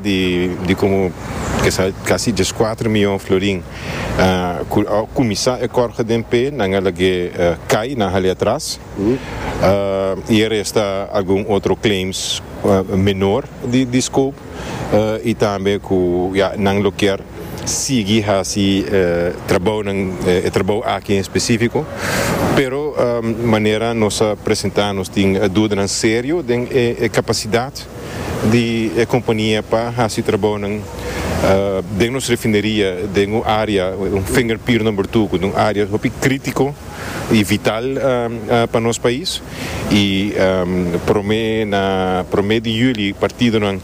di di como kesa casi 14 miyon florin cu a cuminsa e kort geding p'e, nan a lag'e cay, nan a hal'e atras. Y e resta algun otro claims menor di scope y tambe cu ya nan lo kier sigui haci trabounan, e trabou aki en specifico. Pero manera nos a presenta nos tin dudanan serio den e capacidad di e compania pa haci trabounan den nos refineria den un area, un finger pier number two, cu ta un area hopi critico y vital pa nos pais. Y prome na prome di juli partidonan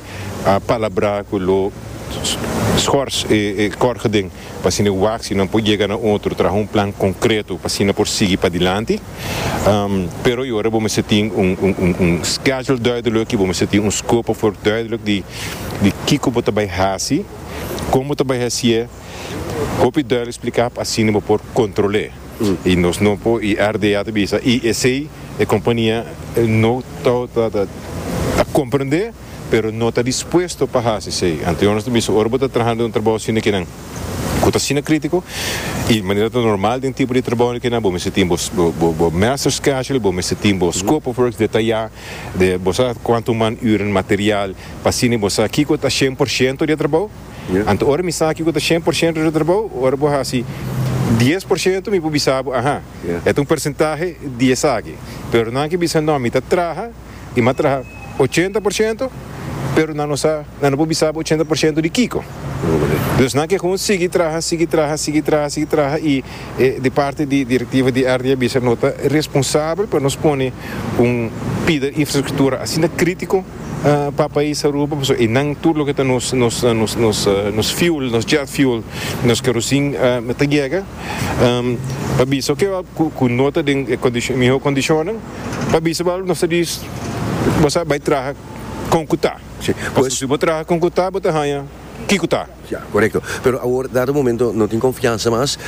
a palabra cu lo schors e kort geding pa asina wak si nan por yega na otro, traha un plan concreto pa asina por sigui padilanti. Pero y ora bo mester tin un schedule duidelijk y bo mester tin un scope of work duidelijk di kico bo ta bay haci, con bo ta bay hacié, hopi duidelijk splica pa asina bo por control'é. Y nos no por, y RDA ta bisa, y esey e compania no ta comprende, pero no ta dispuesto pa haci esey. Anto nos ta bisa ora bo ta trahando un trabou asina kinan cu ta asina critico y manera ta normal den tipo di trabou kinan bo mester tin bo bo master schedule, bo mester tin bo scope of works detaya de bo sa cuanto man uren, material pa asina bo sa kico ta 100% di e trabou. Anto ora mi sa kico ta 100% di e trabou, ora bo haci 10% mi por bisa bo aha, e ta un percentahe di esaki. Pero nan ke bisa no, mi ta traha y mi a traha 80%, pero nan no sa, nan no por bisa bo 80% di kiko. Dus nan ke gewoon sigui traha, sigui traha, sigui traha, sigui traha y e di parti di directiva di RD a bisa no ta responsabel pa nos pone un pida infrastructura asina critico pa pais Aruba pasobra eynan tur loke ta nos nos nos nos nos fuel, nos jet fuel, nos kerosene ta yega pa bisa oke cu no ta den e miho condicionnan. Pa bisa bo nos ta di bo sa bai traha con cu ta. Pasobra si bo traha con cu ta bo ta haña kico ta. Ya, corecto. Pero awor dado momento no tin confiansa mas,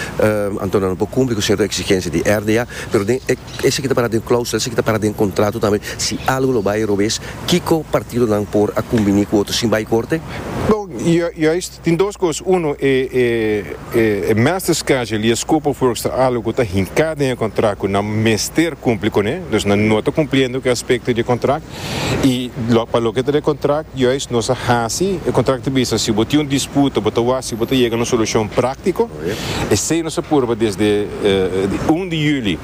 anto nan no por cumpli cu cierto exigencia di RDA, pero den e esaki ta para den clausula, esaki ta para den contrato tambe, si algo lo bay robes, kico partidonan por a cumbini cu otro sin bay corte? Bon, juist tin dos cos, uno e E master schedule i e scope of works ta algo ku ta hinká den e kontrakt ku nan mester kumpli kuné, dus nan no ta kumpliendo ku e aspekto di e kontrakt. I pa loke ta di e kontrakt, juist nos a hasi e kontrakt ta bisa si bo tin un disputa bo ta wak si bo ta yega na un solushon práktiko. Esei nos a purba desde di un di yüli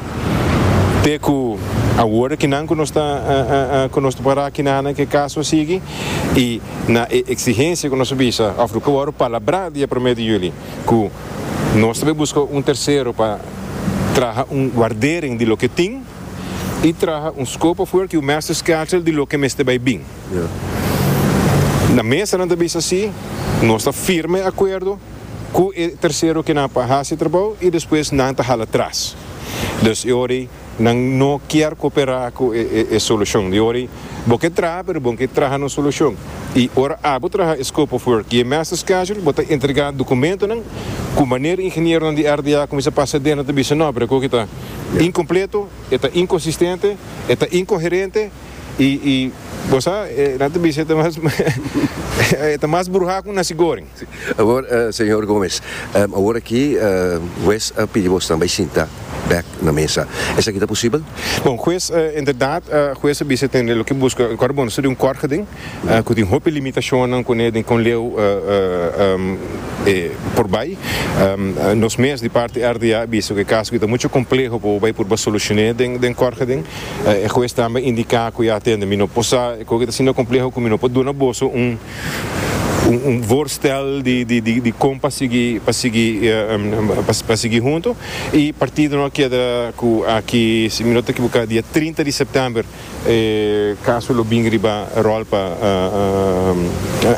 te ku awor akinan ku nos ta ku nos ta pará akinan ku e kaso a sigui i Na e exigencia cu nos a bisa, of loke worde palabrá dia prome di juli, cu nos ta bay busca un tercero pa traha un waardering di loke tin y traha un scope of work y un master schedule di loke mester bay bin. Na mesa nan ta bisa si, nos ta firma e acuerdo cu e tercero kinan pa haci e trabou y despues nan ta hala tras. Dus e ora ey. Nan no kier cooperá cu e solucion. Di ora bo ke traha, pero bo ke traha na un solucion. Y ora abo traha e scope of work y e master schedule, bo ta entrega documentonan cu manera ingenieronan di RDA cuminsa pasa den nan ta bisa no, pero e koki ta incompleto, e ta inconsistente, e ta incoherente y bo sa, nan ta bisa e ta mas e ta mas bruha cu nasi goring. Awor, señor Gomez, awor aki hues a pidi bosnan bay sinta bek na mesa. Esaki ta posibel? Bon, hues, inderdaad, hues a bisa tende loke buska, kòrda bon, nos ta di un kòrt geding ku tin hopi limitashonnan kuné den kon leu e por bai. Nos mes di parti RDA a bisa ku e kaso aki ta muchu kompleho pa bo bai purba solushoné den kòrt geding. E hues tambe a indiká ku ya tende mi no por sa e koki ta asina kompleho ku mi no por duna boso un un voorstel di di di di kon pa sigui pa sigui pa sigui hunto y partidonan a keda cu aki si mi no ta ekiboca dia 30 di september e caso lo bin riba rol pa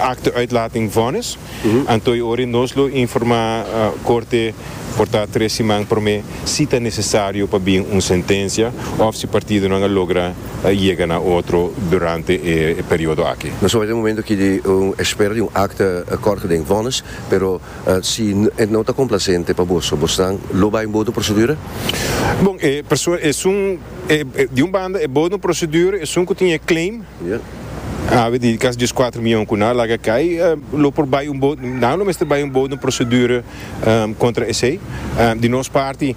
acte uitlating vonnis anto y ora nos lo informa corte por ta tres siman prome si ta necesario pa bin un sentencia of si partidonan a logra yega na otro durante e periodo aki. Nos a bai den momento aki di un espera di un akte kort den vonnis, pero si e no ta komplasiente pa boso, bosnan lo bai un bodo prosedura? Bon, e persoa esun, di un banda e bodo prosedura, esun ku tin e claim. Awe di kasi 14 miyon ku nan a laga kai lo por bai un bo, nan lo mester bai un bo den prosedure kontra esei. Di nos parti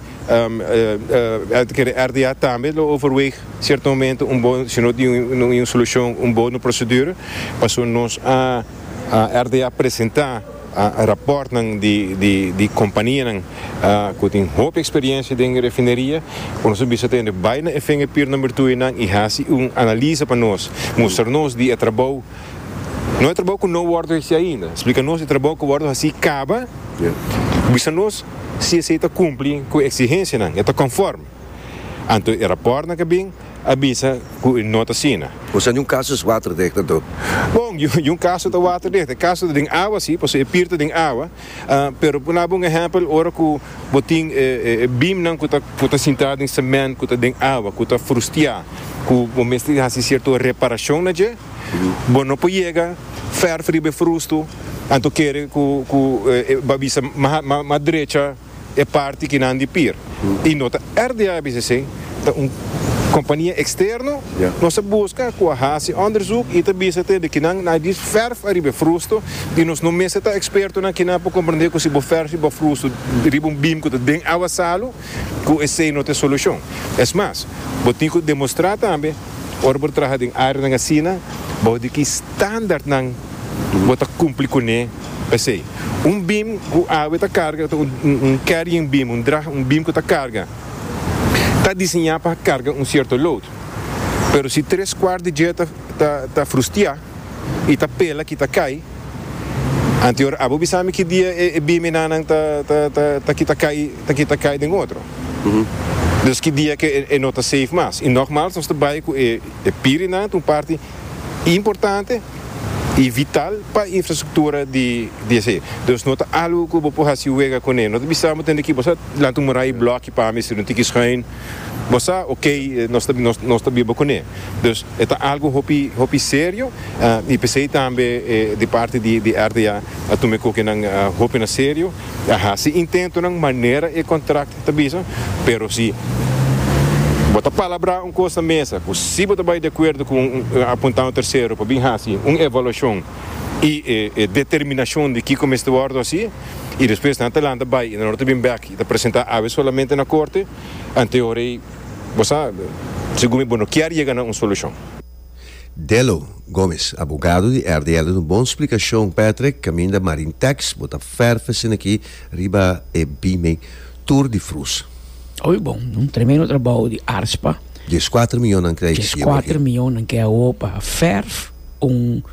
kere RDA tambe lo overweeg sierto momento un bo, si no tin un solushon un bo den prosedure pasobra nos a RDA presenta rapòrtnan di kompanianan ku tin hopi eksperiencia den refineria ku nos a bisa tende bai na e vingerpier number tuinan i hasi un analisa pa nos, mustra nos di e trabou, no e trabou ku no wòrdu hasi ainda, splika nos e trabou ku wòrdu hasi kaba, bisa nos si esei ta kumpli ku e eksigensianan, e ta konform. Anto e rapòrtnan ku a bin a bisa ku e no ta asina. Osea niun kaso es waterdicht anto? Bon, niun kaso ta waterdicht. E kaso ta den awa si, pasobra e pier ta den awa. Pero por daba un ehèmpel, ora ku bo tin e beamnan ku ta ku ta sintá den semènt, ku ta den awa, ku ta frustiá, ku bo mester hasi sierto reparashon na dje, bo no por yega fèrf riba e frustu, anto kere ku ku bo a bisa mas drecha. E parti kinan di pir y no ta RDA BCC, ta un compania externo, nos a busca cu a haci onderzoek y ta bisa te di kinan na di verf ariba e frusto y nos no mester ta expertonan kinan pa comprende cu si bo verf riba frusto riba un beam cu ta den awa salu cu esey no ta e solucion. Es mas, bo tin cu demostra tambe ora bo ta traha den areanan asina bao di ki standaardnan bo ta cumpli cune. P'esei, un beam ku awe ta karga ta un carrying beam, un drag, un beam ku ta karga, ta diseñá pa karga un sierto load. Pero si tres kuart di dje ta ta frustiá i ta pela ki ta kai, anto ora abo bisa mi ki dia e beam enanan ta ta ta ta kita kai ta kita kai den otro. Dus ki dia ke e no ta safe mas. I nogmaals nos ta bai ku e pirinan ta un parti importante y vital pa infrastructura di di esey. Dus no ta algo cu bo por haci wega cune. No ta bisa bo tende ki bo sa lanta un muray bloki pa mi si un tiki schuin. Bo sa ok nos ta nos ta biba cune. Dus e ta algo hopi hopi serio y pesey tambe di parti di di RDA a tuma e cokinan hopi na serio. A haci intentonan manera e contract ta bisa, pero si bo ta palabrá un kos na mesa ku si bo ta bai di akuerdo ku un apuntá un tersero pa bin hasi un evaluashon i e determinashon di kiko mester wòrdu hasi i despues nan ta lanta bai i nan no ta bin bèk i ta presentá awe solamente na korte, anteor ei bo sa segun mi bo no kier yega na un solushon. Delo Gomez, abogado di RDL duna un bon splikashon Patrick kaminda Marintex bo ta fèrf esena aki riba e bime tur di frus. Oy bon, un tremendo trabou di Arspa. Dieskuater miyon nan krijg si awor aki. Dieskuater miyon nan krijg awor pa fèrf un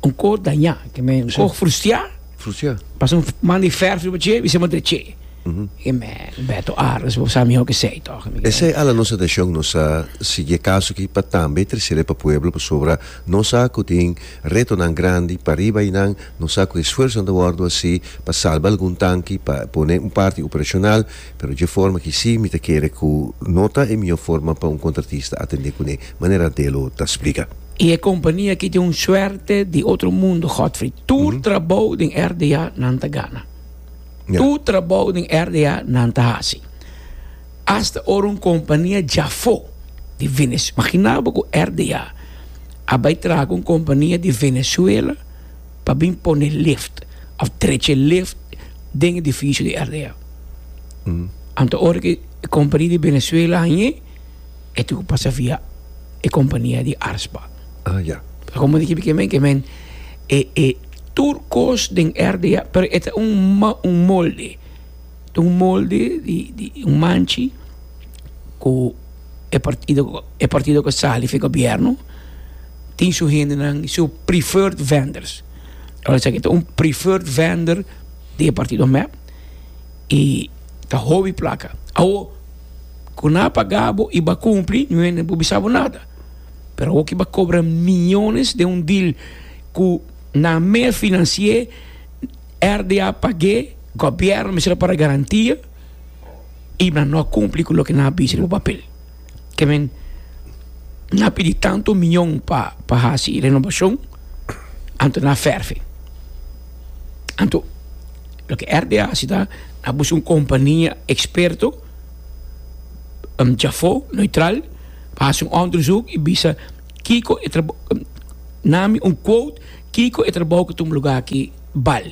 un kos dañá, ke men un kos frustiá. Frustiá. Pasa un man di fèrf riba dje, bisa dreché. E men, Beto Arends, bo sa mihó k'esei tòg. Esei ala nos atenshon, nos a sigui e kaso aki pa tambe tresele pa pueblo pasobra nos sa ku tin retonan grandi pa riba einan, nos sa ku esfuersonan ta wòrdu hasi pa salba algun tanki, pa pone un parti operashonal, pero dje forma aki si mi ta kere ku no ta e mihó forma pa un kontratista atendé kuné, manera Delo ta splika. I e kompania aki tin un suerte di otro mundo, Godfrey. Tur trabou den RDA nan ta gana. Tur trabou den RDA nan ta hasi. Asta ora un kompania djafó di Venezuela, magina bo ku RDA a bai traha ku un kompania di Venezuela pa bin pone lift òf drecha lift den edifisio di RDA. Anto ora ku e kompania di Venezuela hañ'é, e tin ku pasa via e kompania di Arspa. Ah, ya. Komo di ke men ke men e e tur kos den RDA, pero e ta un un molde. Ta un molde di di un manchi ku e partido e partido ku sali for gobierno tin su hendenan su preferred vendors. Ora esaki ta un preferred vendor di e partido mep i ta hopi plaka. Awo Ku nan a paga bo i bo a kumpli, niun hende no por bisa bo nada. Pero awor ki bo a kobra miyones den un deal ku nan mes finansi'é, RDA pag'é, gobièrnu mester a para garantia i nan no a kumpli ku loke nan a bisa riba papel. Ke men nan a pidi tantu miyon pa pa hasi renobashon, anto nan a fèrf'é. Anto loke RDA hasi ta nan a buska un kompania eksperto. Djafó, neutral, pa hasi un onderzoek i bisa kiko e trabou. Nami un quote kiko e trabou ku tuma lugá aki bal.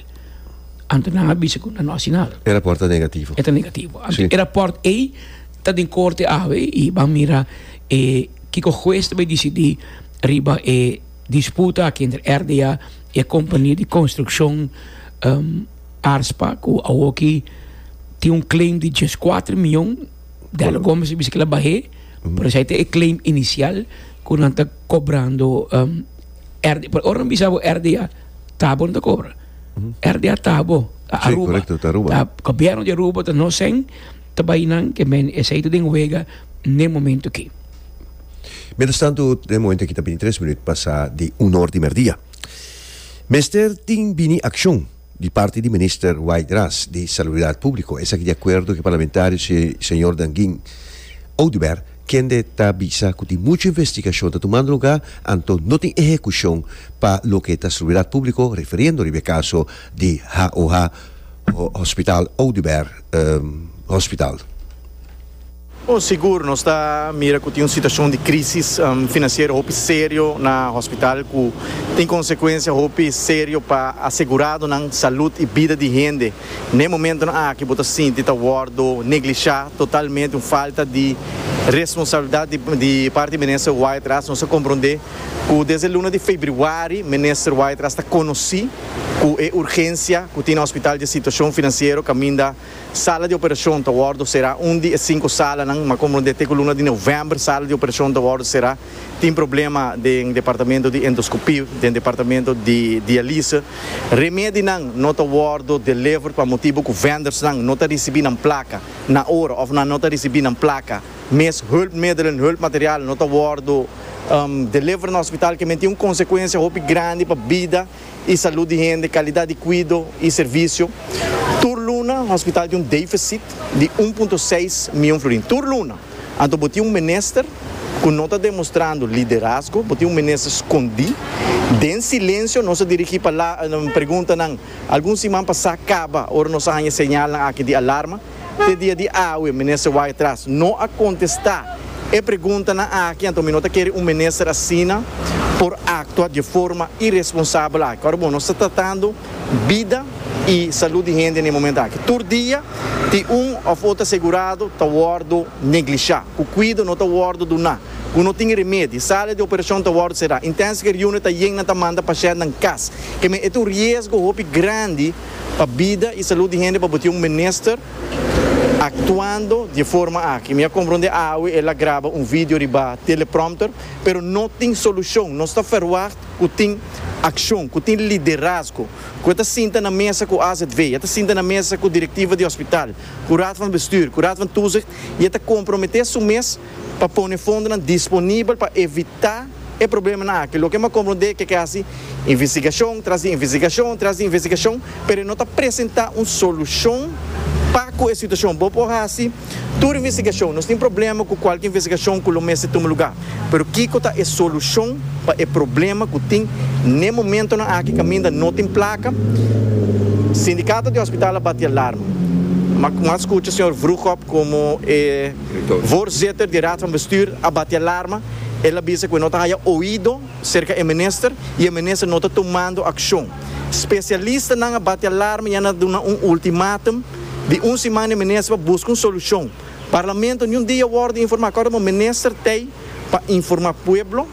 Anto nan a bisa ku nan no hasi nada. E rapòrt ta negativo. E ta negativo. Anto e rapòrt ei ta den korte awe i ban mira e kiko hues ta bai disidí riba e disputa aki entre RDA i e kompania di konstrukshon Arspa ku awoki tin un claim di 14 mion. Dello Gomez a bisa ku el a bah'é, pero esei ta e claim inisial ku nan ta kobrando RDA. Pero ora nan bisa bo RDA, ta bo nan ta kobra. RDA ta bo, ta Sí, Aruba. korekto, ta Aruba. Ta gobièrnu di Aruba ta nos sèn ta bai nan ke men esei ta den wega n'e momento aki. Mientras tanto, den momento aki ta 23 minuut pasa di un or di merdia. Mester tin bini akshon di parti di Minister White Ras di Salubridat Públiko. Esaki di akuerdo ku e parlamentario señor Danguin Oduber, kende ta bisa ku tin muchu investigashon ta tumando lugá, anto no tin ehekushon pa loke ta salubridat públiko, referiendo riba e kaso di HOH, Hospital Oduber Hospital. Bon, sigur nos ta mira ku tin un situashon di krísis finansiero hopi serio na hospital ku tin konsekuensia hopi serio pa aseguradonan, salud i bida di hende. N'e momentonan aki bo ta sinti ta wòrdu neglishá totalmente, un falta di responsabilidat di parti di Minister Wyatt-Ras. Nos a komprondé ku desde luna di febrüari Minister Wyatt-Ras ta konosí ku e urgensia ku tin na hospital di e situashon finansiero kaminda Sala di operashon ta wòrdu será. Un di e sinku salanan, ma komprondé te ku luna di novèmber sala di operashon ta wòrdu será. Tin problema den departamento di endoskopie, den departamento di dialise. Remedinan no ta wòrdu delivered pa motibu ku vendersnan no ta risibí nan plaka na ora òf nan no ta risibí nan plaka mes. Hulpmiddelen, hulpmaterial no ta wòrdu delivered na hospital, ke men tin un konsekuensia hopi grandi pa bida. i salud di hende, kalidat di kuido i servisio. Tur luna hospital tin un defisit di un punto seis mion florin. Tur luna! Anto bo tin un minister ku no ta demostrando liderazgo, bo tin un minister skondí. Den silensio nos a dirigí preguntanan algun siman pasá kaba ora nos a haña señalnan aki di alarma. Te dia di awe minister Wyatt-Ras no a contesta e preguntanan aki, anto mi no ta kere un minister asina por actua di e forma irresponsabel aki. Ora bon, nos ta tratando bida y salud di hende na e momento aki. Tur dia tin un of otro asegurado ta wordo neglisha, cu cuido no ta wordo duna, cu no tin remedi, sala di operacion ta wordo cera, intensive care unit ta yen, nan ta manda pashentnan cas. Keme e ta un riesgo hopi grandi. pa bida y salud di hende pa bo tin un minister actuando di e forma aki. Mi a comprende awe el a graba un video riba teleprompter, pero no tin solucion. Nos ta verwacht cu tin accion, cu tin liderazgo, cu e ta sinta na mesa cu AZV, e ta sinta na mesa cu directiva di hospital, cu Raad van Bestuur, cu Raad van Toezicht y e ta compromete su mes pa pone fondonan disponibel pa evita e problemanan aki. Loke mi a komprondé ke ke hasi investigashon tras di investigashon tras di investigashon, pero e no ta presentá un solushon pa ku e situashon. Bo por hasi tur investigashon, nos tin problema ku kualke investigashon ku lo mester tuma lugá, pero kiko ta e solushon pa e problema ku tin n'e momentonan aki kaminda no tin plaka? Sindikato di hospital a bati alarma. Mi a skucha señor Vroegop komo e voorzitter di Raad van Bestuur a bati alarma. El a bisa ku e no ta haya oido serka e minister i e minister no ta tumando akshon. Spesialistanan a bati alarma i a na duna un ultimatum di un siman e minister pa buska un solushon. Parlamento niun dia wòrdu informá. Kòrda bo minister t'ei pa informá pueblo,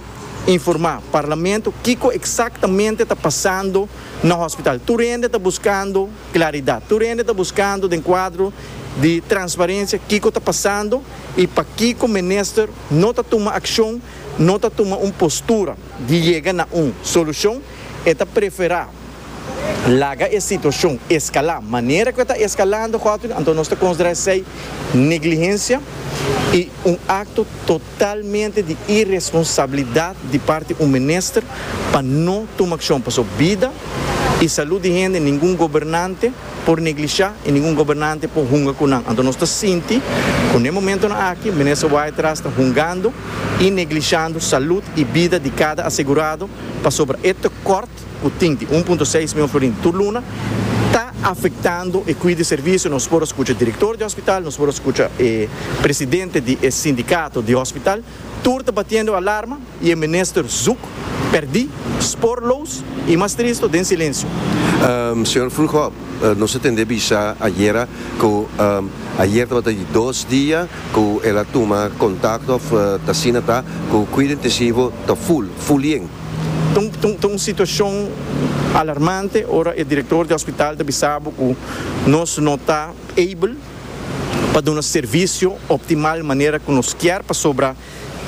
informá parlamento kiko eksaktamente ta pasando na hospital. Tur hende ta buskando klaridat. Tur hende ta buskando den kuadro di transparensia kiko ta pasando i pakiko minister no ta tuma akshon, no ta tuma un postura di yega na un solushon, e ta preferá laga e situashon eskalá manera ku e ta eskalando, Godwin, anto nos ta konsiderá esei negligensia i un akto totalmente di iresponsabilidat di parti un minister pa no tuma akshon, pasobra bida i salud di hende ningun gobernante por neglishá i ningun gobernante por hunga ku nan. Anto nos ta sinti ku n'e momentonan aki Minister Wyatt-Ras ta hungando i neglishando salud i bida di kada asegurado pasobra e tekort ku tin di 1.6 mion florin tur luna ta afektando e kuido i servisio. Nos por a skucha direktor di hospital, nos por a skucha e presidente di e sindikato di hospital, tur ta batiendo alarma i e minister zoek. Perdí, spoorloos i mas tristo, den silensio. Señor Vroegop, nos a tende bisa ayera ku ayer tabata di dos dia ku el a tuma kontakto òf ta asina ta ku kuido intensivo ta full, full yen. Ta un situashon alarmante ora e direktor di hospital ta bisa bo ku nos no ta able pa duna servisio optimal manera ku nos kier pasobra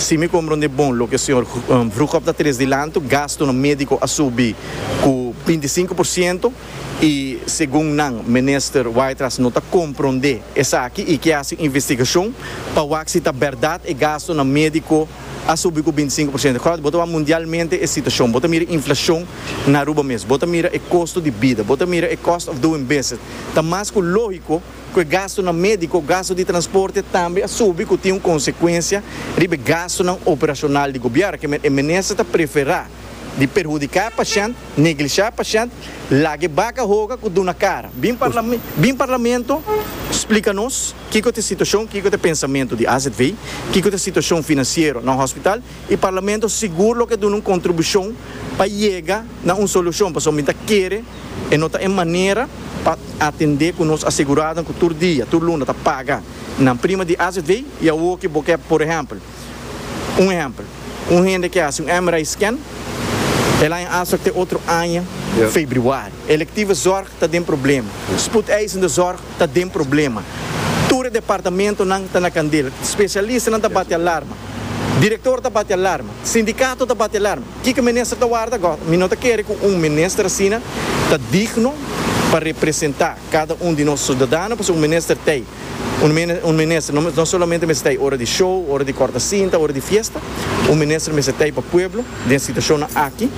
Si mi komprondé bon loke señor Vroegop ta tres dilantu, gastunan médiko a subi ku 25% i segun nan minister Wyatt-Ras no ta komprondé esaki i ke hasi un investigashon pa wak si ta bèrdat e gastunan médiko a subi ku 25%. Kòrda bo ta wak mundialmente e situashon, bo ta mira inflashon na Aruba mes, bo ta mira e kosto di bida, bo ta mira e cost of doing business. Ta mas ku lógiko. Ku e gastunan médiko, gastu di transporte tambe a subi ku tin un konsekuensia riba e gastunan operashonal di gobièrnu. Ke men e minister ta preferá di perhudiká e pashènt, neglishá e pashènt, laga e baka hoga ku duna kara. Bin bin parlamento splika nos kiko ta e situashon, kiko ta e pensamentu di AZV, kiko ta e situashon finansiero na hospital i parlamento sigur lo ke duna un kontribushon pa yega na un solushon pasobra mi ta kere E no ta e manera pa atendé ku nos aseguradonan ku tur dia, tur luna ta paga nan prima di azv i awor ki bo ke, por ehèmpel, un ehèmpel, un hende ke hasi un MRI scan, el haña afspraak te otro aña febrüari. Electieve zorg ta den problema, spoedeisende zorg ta den problema, tur e departamentonan ta na kandela, spesialistanan ta bati alarma, direktor ta bati alarma, sindikato ta bati alarma. Kiko minister ta warda gò? Mi no ta kere ku un minister asina ta digno pa representá kada un di nos sudadano, pasobra un minister t'ei, un minister no solamente mester t'ei ora di show, ora di kòrta sinta, ora di fiesta, un minister mester t'ei pa pueblo den situashonnan aki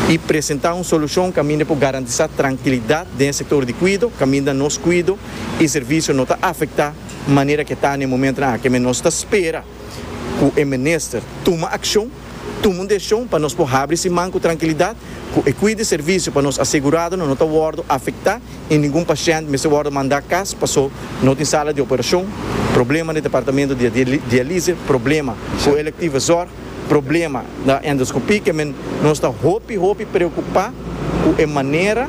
i presentá un solushon kaminda por garantisá trankilidat den e sektor di kuido, kaminda nos kuido i servisio no ta afektá manera ke ta na e momentonan aki. Men nos ta spera ku e minister tuma akshon. Tuma un desishon pa nos por habri siman ku trankilidat, ku e kuido i servisio pa nos aseguradonan no ta wòrdu afektá i ningun pashènt mester wòrdu mandá kas paso no tin sala di operashon, problema na departamento di dialise, problema ku electieve zorg, problema na endoskopie. Ke men nos ta hopi hopi preokupá ku e manera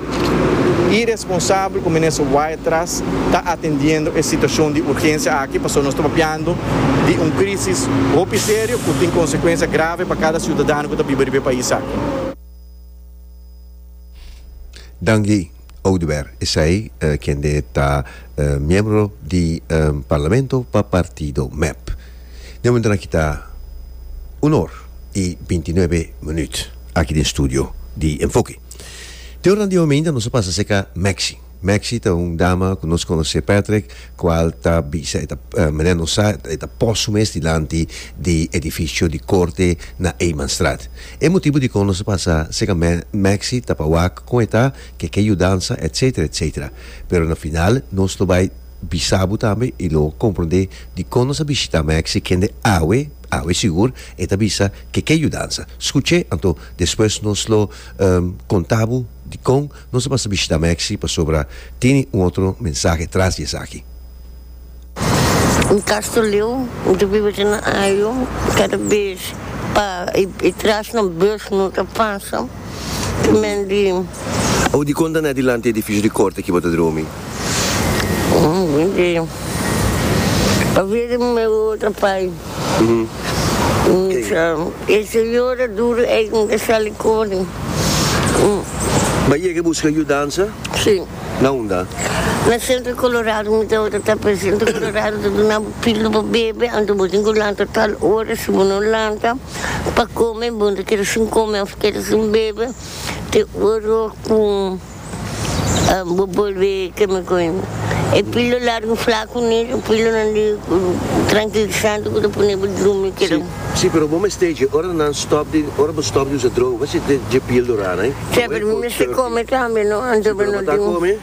iresponsabel ku Minister Wyatt-Ras ta atendiendo e situashon di urgensia aki, pasobra nos ta papiando di un krisis hopi serio ku tin konsekuensia grave pa kada siudadano ku ta biba riba e pais aki. Dangui Oduber esei kende ta miembro di Parlamento pa partido mep. Den momentonan aki ta un or i bintinuebe minuut aki den studio di Enfoke. Te oranan di hominda nos a pasa serka Maxi. Maxi ta un dama ku nos konosé Patrick kual ta bisa e ta manera nos sa e ta pos su mes dilanti di edifisio di korte na Eemanstraat. E motibu dikon nos a pasa serka Maxi ta pa wak kon e ta, ke ke yudansa etcetera etcetera. Pero na final nos lo bai bisa bo tambe y lo comprende dicon nos a bishita Maxi kende awe, awe sigur, e ta bisa ke ke yudansa. Scuche anto despues nos lo conta bo dicon nos a pasa bishita Maxi pasobra tini un otro mensahe tras di esaki. Un Castro Leeuw, mi ta biba te na Ayo, kada bes pa e tras na bus no ta pasa, ta men di. Awo dikon ta na dilanti edifisio di korte ki bo ta drumi? Pa via di mi otro pai. E señora duru ei mi ta sali kore. Bo a yega buska yudansa? Si. Na unda? Na Centro Colorado mi tabata ta pero Centro Colorado ta duna bo pildo pa bebe anto bo tin ku lanta tal ora si bo no lanta pa kome bo no ta keda sin kome of keda sin bebe te ora ku bo bolbe keme koe e pildo largo flaku ni e pildonan di trankilisante ku ta pone bo drumi keda. Si, pero bo mester dje ora nan stop di ora bo stop di usa droga bo mester dje pildora nan. Si, pero mi mester come tambe no, anto bo no tin.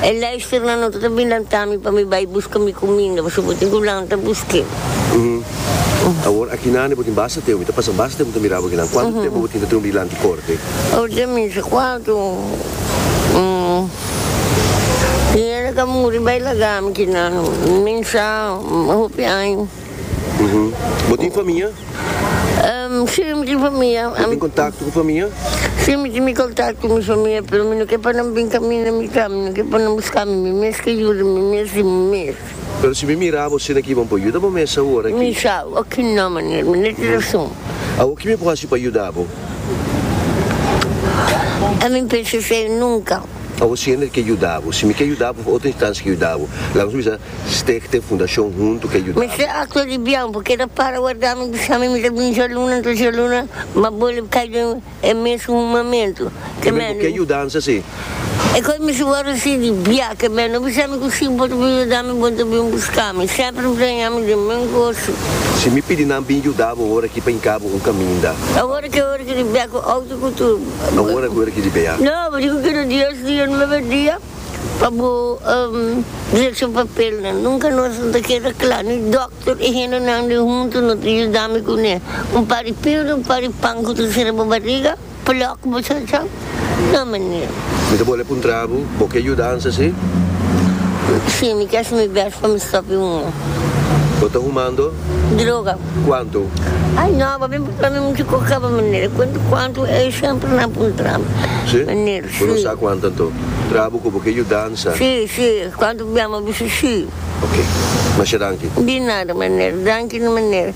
E luisternan no ta bin lanta mi pa mi bai buska mi cuminda, pasobra bo tin cu lanta busk'e. Awor aki nan bo tin basta tempo, mi ta pasa basta tempo ta mira bo akinan. Cuanto tempo bo tin ta drumi dilanti corte? Awor den mi sa cuanto. Tin hende cu a muri bai laga mi akinan, mi sa hopi aña. Bo tin famia? Si, mi tin famia. Bo tin kontakto ku famia? Si, mi tin mi kontakto ku mi famia, pero mi no ke pa nan bin kaminda mi ta, mi no ke pa nan buska mi, mi mes ke yuda mi mes di mi mes. Pero si mi mira bo asina aki, bo por yuda bo mes awor aki? Mi sa, oki no, meneer, mi no tin rason. Awor ki mi por hasi pa yuda bo? Ami pensa esei nunka. Awor si hende ke yuda bo, si mi ke yuda bo of otro instansia ke yuda bo, laga nos bisa Stichting, fundashon huntu ke yuda bo. Mester aktua di bian, bo keda para warda mi bisa mi mi ta bin djaluna, anto djaluna m'a bolbe kai den e mesun humamentu. Ke men bo ke yudansa si? E kos mi si wòrdu si di bia, ke men no bisa mi ku si bo ta bin yuda mi, bo ta bin buska mi. Semper mi ta haña mi den men goso. Si mi pidi nan bin yuda bo ora ki pa hinka bo un kaminda. Awor ke ora ki di bia ku outo ku tur. Awor ke ora ki di bia. No, bo di ku keda dies dia, nuebe dia. Pa bo drecha papelnan. Nunka nos no ta keda kla, ni dòkter i hendenan di huntu no ta yuda mi kuné. Un par di pildo, un par di pan ku ta sera bo bariga, plòk bo chacha. No, meneer. Mi ta bole puntra bo, bo ke yudansa, si? Si, mi ke hasi mi bèst pa mi stòp di huma. Bo ta humando? Droga. Kuantu? Ay no, bo bin puntra mi muchu kos kaba, meneer. Kuantu, kuantu, e semper nan puntra mi. Si? Meneer, Bo no si. sa kuantu anto? Trabu ku bo ke yudansa. Si, si, kuantu bia mi a bisa si. Ok. Masha danki. Di nada, meneer. Danki, meneer.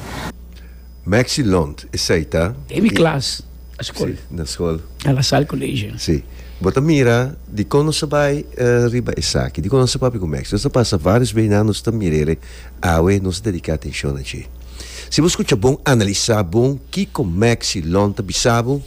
Maxi Lont, esei ta. Den mi klas na skol. Si, na skol. Na La Salle College. Si. Bo ta mira dikon nos a bai riba esaki, dikon nos a papia ku Maxi. Nos a pasa varios beinan nos ta mir'el awe nos a dediká atenshon na dje. Si bo skucha bon, analisá bon kiko Maxi Lont ta bisa bo.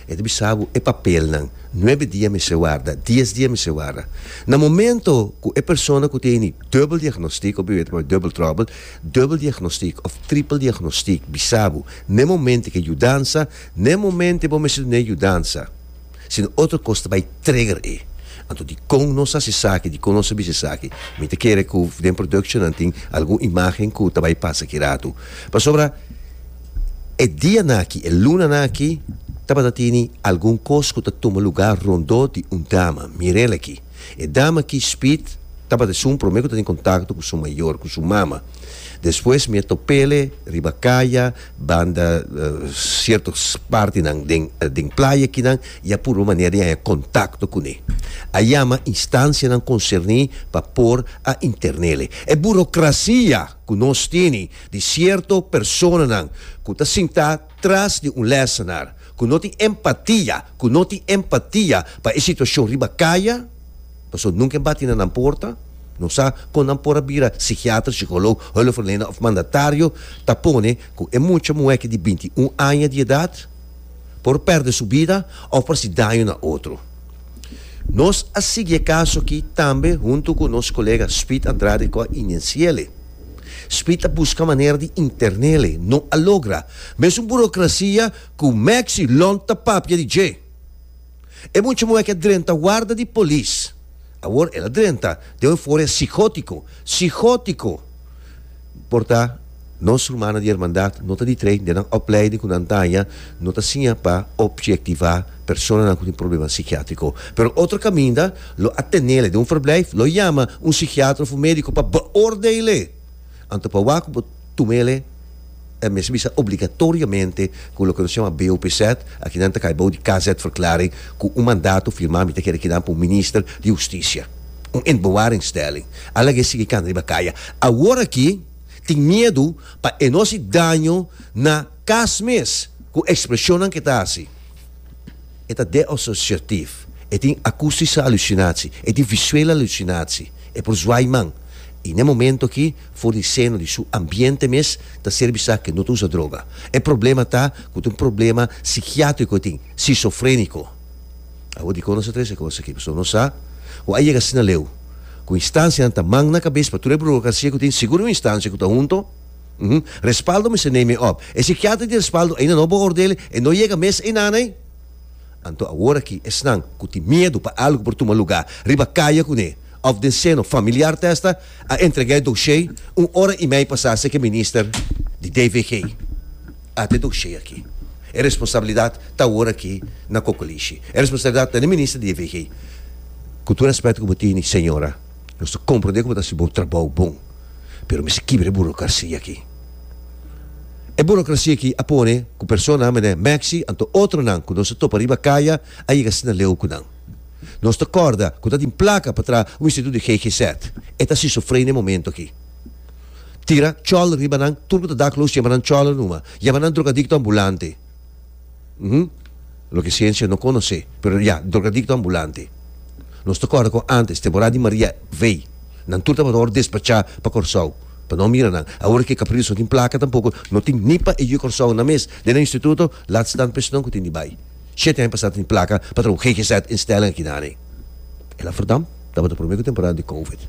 E ta bisa bo e papelnan, nuebe dia mester warda, dies dia mester warda. Na momento ku e persona ku tene dubbel diagnostiek, of ta papia dubbel trouble, dubbel diagnostiek of tripel diagnostiek bisa bo n'e momento ke yudansa, n'e momento bo mester dun'e yudansa, sino otro kos ta bai trigger e. Anto dikon nos a hasi esaki, dikon nos a bisa esaki? Mi ta kere ku den production nan tin algun imagen ku ta bai pasa ki ratu. Pasobra. E dianan aki, e lunanan aki, tabata tini algun kos ku ta tuma lugá rondó di un dama. Mirel aki. E dama aki, Speed, tabata esun promé ku ta tin kontakto ku su mayor, ku su mama. Despues mi a top'ele riba kaya, banda sierto partinan den den playa akinan, i a purba manera di haña kontakto kuné. A yama instansianan konserní pa por a intern'ele. E burokrasia! ku nos tini di sierto personanan ku ta sintá tras di un lèsenar, ku no tin empatia, ku no tin empatia pa e situashon riba kaya, pasobra nunka e bati na nan porta, no sa kon nan por a bira sikiater, sikolog, hulpverlener òf mandatario, ta pone ku e mucha muhé ki di 21 aña di edat por pèrdè su bida òf por hasi daño na otro. Nos a sigui e kaso aki tambe huntu ku nos kolega Speed Andrade ku a inensi'ele. Speed a buska manera di intern'ele, no a logra. Mesun burokrasia ku Maxi Lont ta papia di dje. E mucha muhé ke a drenta warda di polis. Awor el a drenta den un euforia psihótiko, psihótiko! Por ta, nos rumannan di hermandat no ta di trei den nan opleiding ku nan ta haña, no ta siña pa objektivá personanan ku tin problema sikiátriko. Pero otro kaminda lo a tenele den un verblijf, lo yama un sikiatra òf un médiko pa beoordeel'e. Anto pa wak ku bo tum'ele, e mester bisa obligatoriamente ku loke nos yama BOPZ, aki nan ta kai bou di KZ-verklaring, ku un mandato firmá mi ta kere kinan pa un minister di hustisia. Un inbewaringstelling. A laga e sigui kanda riba kaya. Awor aki tin miedu pa e no hasi daño na kas mes ku ekspreshonnan ku e ta hasi. E ta deasosiatief. E tin akustische alusinatie. E tin visuele alusinatie. E por zwaai man. I n'e momento aki for di seno di su ambiente mes ta ser bisa ku e no ta usa droga. E problema ta ku ta un problema sikiatriko e tin, sisofreniko. Awor dikon nos a trese e kos aki? Pasobra nos sa ku a yega asina leu ku instansianan ta man na kabes pa tur e burokrasia ku tin, sigur un instansia ku ta hunto, Respaldo mester neem e op. E sikiatra di Respaldo ainda no beoordeel e no yega mes einan ei. Anto awor aki esnan ku tin miedu pa algu por tuma lugá riba kaya kuné òf den seno familiar testa a entregá e doshé un ora i mei pasá seke minister di DVG. Ata e doshé aki. E responsabilidat ta awor aki na Kokolishi. E responsabilidat ta na e minister di DVG. Ku tur rèspèt ku bo tini, señora, nos ta komprondé ku bo ta hasi bo trabou bon. Pero mester kibra e burokrasia aki. E burocracia aki a pone cu personanan manera Maxi anto otronan cu nos a topa riba caya a yega asina leu cu nan. Nos ta corda cu ta tin placa pa traha un instituto di GGZ. E ta sisofrenia na e momento aki. Tira choler riba nan, tur cu ta dakloos yama nan choler numa. Yama nan drogadicto ambulante. Uhum. Loke ciencia no conoce, pero ya, drogadicto ambulante. Nos ta corda con antes, temporada di Maria V, nan tur tabata worde despacha pa Corsou, pa no mira nan. Awor ke Capriles no tin placa tampoco, no tin ni pa e yu Corsou nan mes den nan instituto, laat staan pa esnan cu tin di bay. Shete aña pasa tin placa pa traha un GGZ instelling aki nani. El a verdam, tabata prome cu temporada di Covid.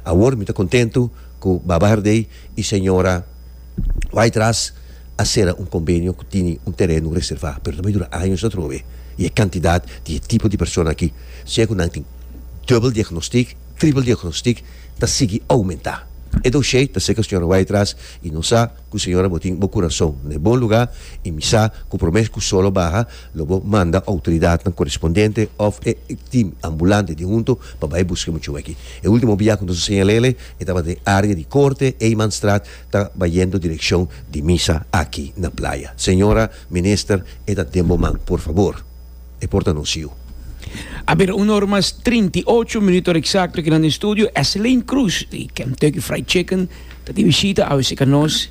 Awor mi ta contento cu Baba Herdey y señora Whiteras a sera un convenio cu tini un tereno reserva, pero ta bay dura años atrobe y e cantidad di e tipo di persona aki, sea cu nan tin dubbel diagnostiek, tripel diagnostiek, ta sigui aumenta. E dossier ta cerca señora Whiteras y nos sa cu señora bo tin bo curason na e bon lugar y mi sa cu prome cu sol a baha lo bo manda autoridadnan correspondiente of e team ambulante di hunto pa bay busca e muchacho aki. E ultimo bia cu nos a señalele e tabata den area di corte, Eymanstraat, ta bayendo direccion di misa aki na playa. Señora Minister e ta den bo man por favor e por ta nos yu. A bira un or mas 38 minuut ora exacto aki nan den studio. Eslein Cruz di Kentucky Fried Chicken ta di bishita awe cerca nos.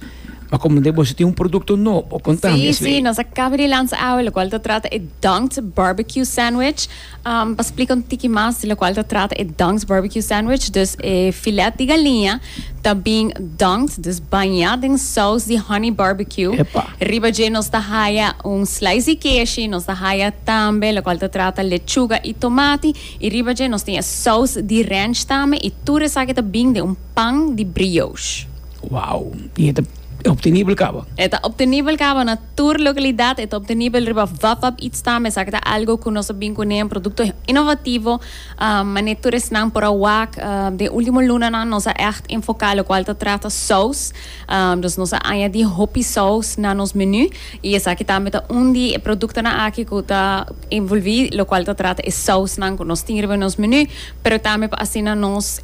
Ma comprende boso tin un producto nobo. Contami Sí, Eslein. sí, nos a caba di lansa awe locual ta trata e Dunked Barbecue Sandwich. Pa splika un tiki mas di lokual ta trata e Dunked Barbecue Sandwich, dus e filet di galiña ta bin dunked, dus bañá den saus di honey barbecue. Epa. Riba dje nos ta haya un slice di keshi, nos ta haya tambe lokual ta trata lechuga i tomati, i riba dje nos tin e saus di ranch tambe, i tur esaki ta bin den un pan di brioche. Wow! I e ta obtenibel kaba? E ta obtenibel kaba na tur localidad, e ta obtenibel riba Vapvap Eats tambe. Esaki ta algo cu nos a bin cune, un producto innovativo, mane tur esnan por a wak. Den ultimo lunanan nos a echt enfoca locual ta trata saus, dus nos a añadi hopi saus na nos menu y esaki tambe ta un di e productonan aki cu ta envolvi locual ta trata e sausnan cu nos tin riba nos menu, pero tambe pa asina nos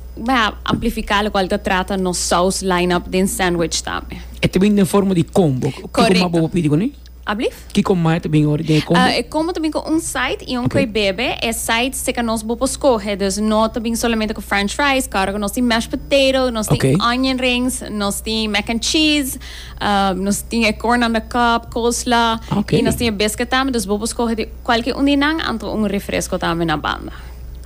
amplifica locual ta trata nos saus line-up den sandwich tambe. E ta bin den forma di combo. Kiko Correcto. mas bo por pidi kuné? Ablief? Kiko mas ta bin ora den e combo? E combo ta bin ku un side i un Ok. koe bebe. E side seka nos bo por skohe. Dus no ta bin solamente ku french fries, kòrda ku nos tin mashed potato, nos tin Ok. onion rings, nos tin mac and cheese, nos tin e corn on the cob, coleslaw, Ok. i nos tin e biscuit tambe. Dus bo por skohe di kualke un di nan, anto un refresco tambe na banda.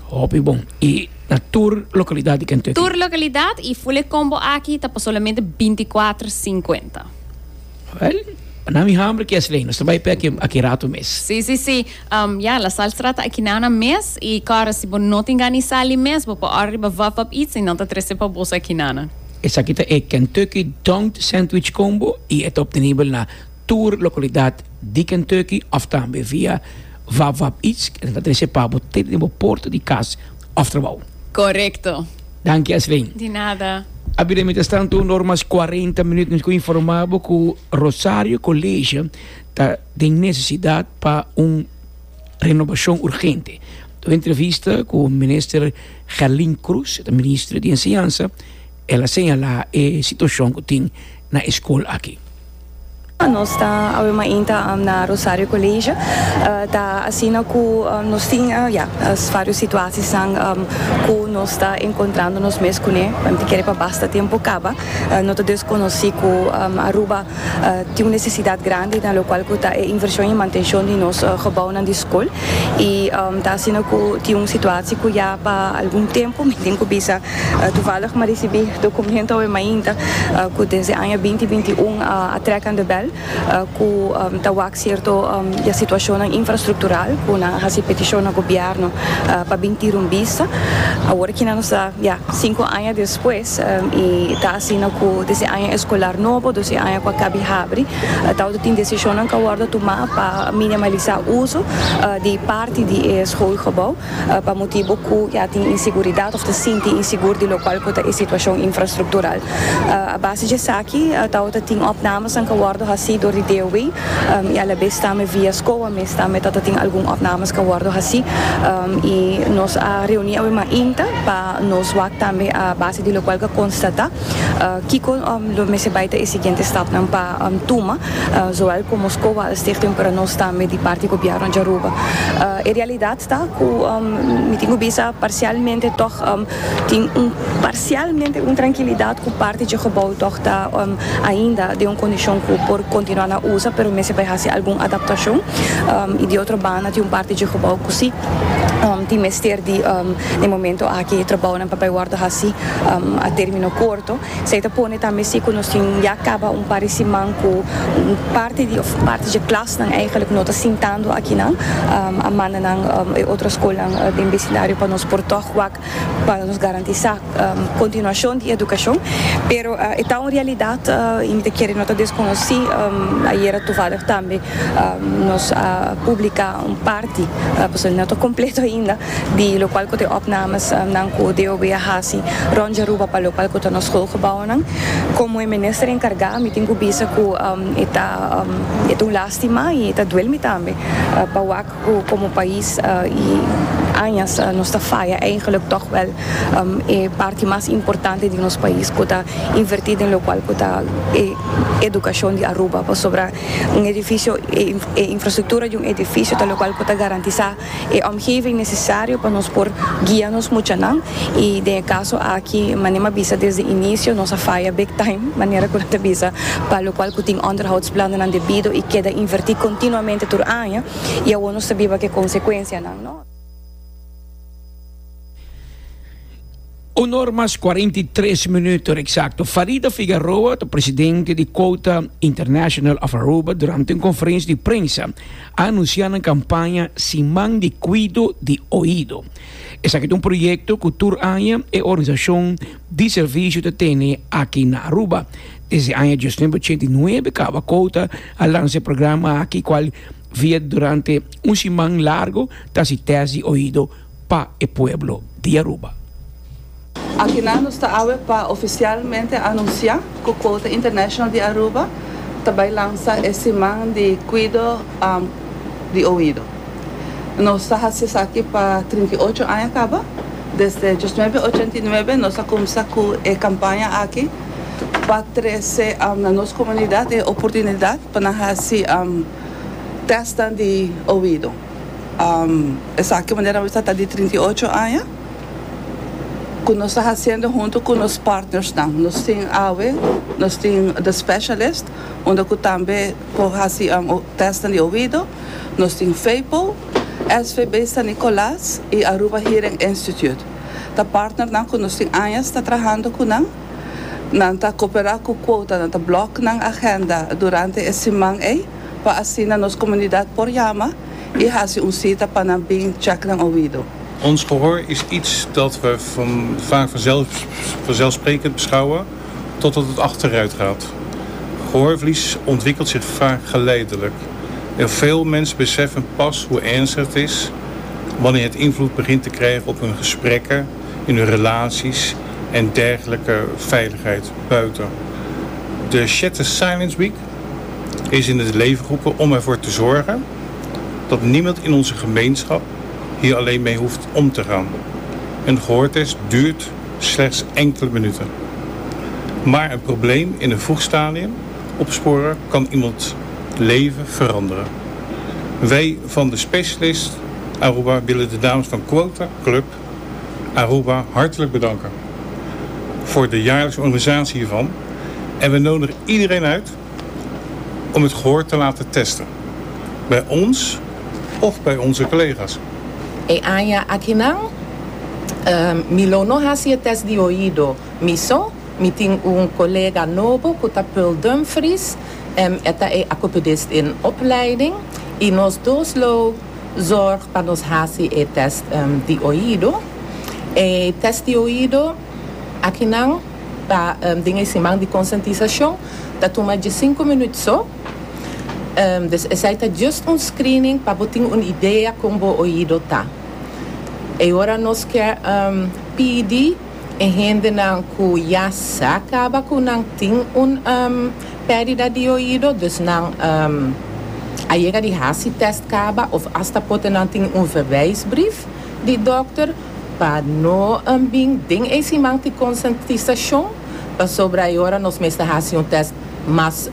Hopi bon. I Na tur localidad di Kentucky. Tur localidad y full e combo aki ta pa solamente 24 cincuenta. Wel, na mi hamber ki Esley, nos ta bai pe aki aki rato mes. Si, si, si. Um, ya, La Sal Straat ta aki na mes y kòrda si bo no tin gana di sali mes, bo por order riba Vap Vap Eats y nan ta trese pa boso aki na. Esaki ta e Kentucky Dunked Sandwich Combo y e ta obtenibel na tur localidad di Kentucky of tambe via Vap Vap Eats, nan ta trese pa bo te den bo porta di cas. Of trabou. Korekto. Danki Asleen. Di nada. A bira mientrastanto un or mas 40 minuut nos ku informa bo ku Rosario College ta den nesesidat pa un renobashon urgente. Den un entrevista ku minister Gerlin Cruz, ta minister di enseñansa, el a señala e situashon ku tin na e skol aki. Nos ta awe mainta na Rosario College. Ta asina cu nos tin ya varios situaciesnan cu nos ta encontrando nos mes cune. Mi ta kere pa basta tempo caba. No ta desconoci cu Aruba tin un necesidad grandi na locual cu ta e inversion y mantencion di nos gebouwnan di scol. Y ta asina cu tin un situatie cu ya pa algun tempo mi tin cu bisa Toevallig m'a ricibi documento awe mainta cu desde aña binti binti un a trek aan de bel cu ta wak cierto ya situacionnan infrastructural cu nan a haci peticion na gobierno pa bin tira un bista. Awor aki nan nos ta ya cinco aña despues y ta asina cu desde aña escolar nobo, dus e aña cu a cabi habri, tawata tin decisionnan cu a wordo tuma pa minimalisa uso di parti di e schoolgebouw. pa motibu ku ya tin inseguridat òf ta sinti insigur di lokual ku ta e situashon infrastruktural. A base di esaki tabata tin opnamesnan ku a wòrdu hasí. haci door di DOW y alabes tambe via SCOA mes tambe tata tin algun opnames cu a wordo haci y nos a reuni awe mainta pa nos wak tambe a base di locual cu a constata kico lo mester bay ta e siguiente stapnan pa tuma zowel como SCOA als stichting pero nos tambe di parti gobierno di Aruba. E realidad ta cu mi tin cu bisa parcialmente toch Tin un parcialmente un trankilidad cu parti dje gebouw toch ta ainda den un condicion cu por continua na usa, pero mester bay haci algun adaptacion. Y di otro banda tin un parti dje gebouw cu si tin mester di den momento aki e trabounan pa bay wordo haci a termino corto. Esey ta pone tambe si cu nos tin ya caba un par di siman cu un parti di of parti dje klasnan eigenlijk no ta sintando akinan. A manda nan e otro scolnan den becindario pa nos por toch wak pa nos garantisá kontinuashon di edukashon, pero e ta un realidat i mi ta kere no ta deskonosí. Ayera toevallig tambe nos a publiká un parti, pasobra no ta kompleto ainda, di lokual ku ta e opnames nan ku DOB a hasi rònt di Aruba pa lokual ku ta nos schoolgebouwnan. Komo e minister enkargá mi tin ku bisa ku e ta e ta un lástima i e ta duel mi tambe pa wak Ku komo pais i añas nos ta faya eigenlijk tòg wèl e parti mas importante di nos pais ku ta invertí den lokual ku ta e edukashon di Aruba pasobra un edifisio e infrastruktura di un edifisio ta lokual ku ta garantisá e omgeving nesesario pa nos por guia nos muchanan i den e kaso aki manera mi a bisa desde inisio nos a faya big time manera ku nan ta bisa pa lokual ku tin onderhoudsplannen debido i keda invertí kontinuamente tur aña. I awor nos ta biba ku e konsekuensianan, no? Un or mas 43 minuut eksakto. Farida Figaroa ta presidente di Quota International of Aruba durante un konferensia di prensa a anunsiá nan kampaña Siman di Kuido di Oido. Esaki ta un proyekto ku tur aña e organisashon di servisio ta tene aki na Aruba. Desde aña 1989 kaba Quota a lansa e programa aki cual via durante un siman largo ta haci test di oido pa e pueblo di Aruba. Akinan nos ta awe pa oficialmente anuncia cu Quota International di Aruba ta bay lansa e siman di cuido di oido. Nos ta haci esaki pa 38 aña caba. Desde 1989 nos a cuminsa cu e campaña aki. pa trese na nos komunidat e oportunidat pa nan hasi tèstnan di oido. Esaki manera mi sa ta di 38 aña ku nos ta hasiendo huntu ku nos partnersnan. Nos tin awe, nos tin The Specialist unda ku tambe por hasi tèstnan di oido, nos tin FEPO, SVB San Nicolas i Aruba Hearing Institute. Ta partnernan ku nos tin añas ta trahando ku nan. Nan ta koperá ku kuota, nan ta blòk nan agenda durante e siman ei pa asina nos komunidat por yama i hasi un sita pa nan bin chèk nan oido. Ons gehoor is iets dat we van, vaak vanzelf, vanzelfsprekend beschouwen totdat het achteruit gaat. Gehoorverlies ontwikkelt zich vaak geleidelijk. En veel mensen beseffen pas hoe ernstig het is wanneer het invloed begint te krijgen op hun gesprekken, in hun relaties en dergelijke veiligheid buiten. De Shatter Silence Week is in het leven geroepen om ervoor te zorgen dat niemand in onze gemeenschap hier alleen mee hoeft om te gaan. Een gehoortest duurt slechts enkele minuten. Maar een probleem in een vroeg stadium opsporen kan iemand leven veranderen. Wij van de specialist Aruba willen de dames van Quota Club Aruba hartelijk bedanken voor de jaarlijkse organisatie hiervan. En we nodigen iedereen uit om het gehoor te laten testen. Bij ons of bij onze collega's. E aña akinan mi lo no hasi e test di oido mi so. Mi tin un colega nobo cu ta Pearl Dumfries. E ta e acupedist in opleiding. Y nos dos lo zorg pa nos hasi e test di oido. E test di oido akinan ta den e siman di conscientisacion ta tuma diescinco minuut so. Dus esei ta just un screening pa bo tin un idea con bo oido ta. E ora nos kier pidi. E hendenan ku ya sa kaba ku nan tin un pèrdida di oido, dus nan a yega di hasi tèst kaba òf asta pote nan tin un verwijsbrief di dòkter pa no bin den e siman di konsientisashon, pasobra e ora nos mester hasi un tèst mas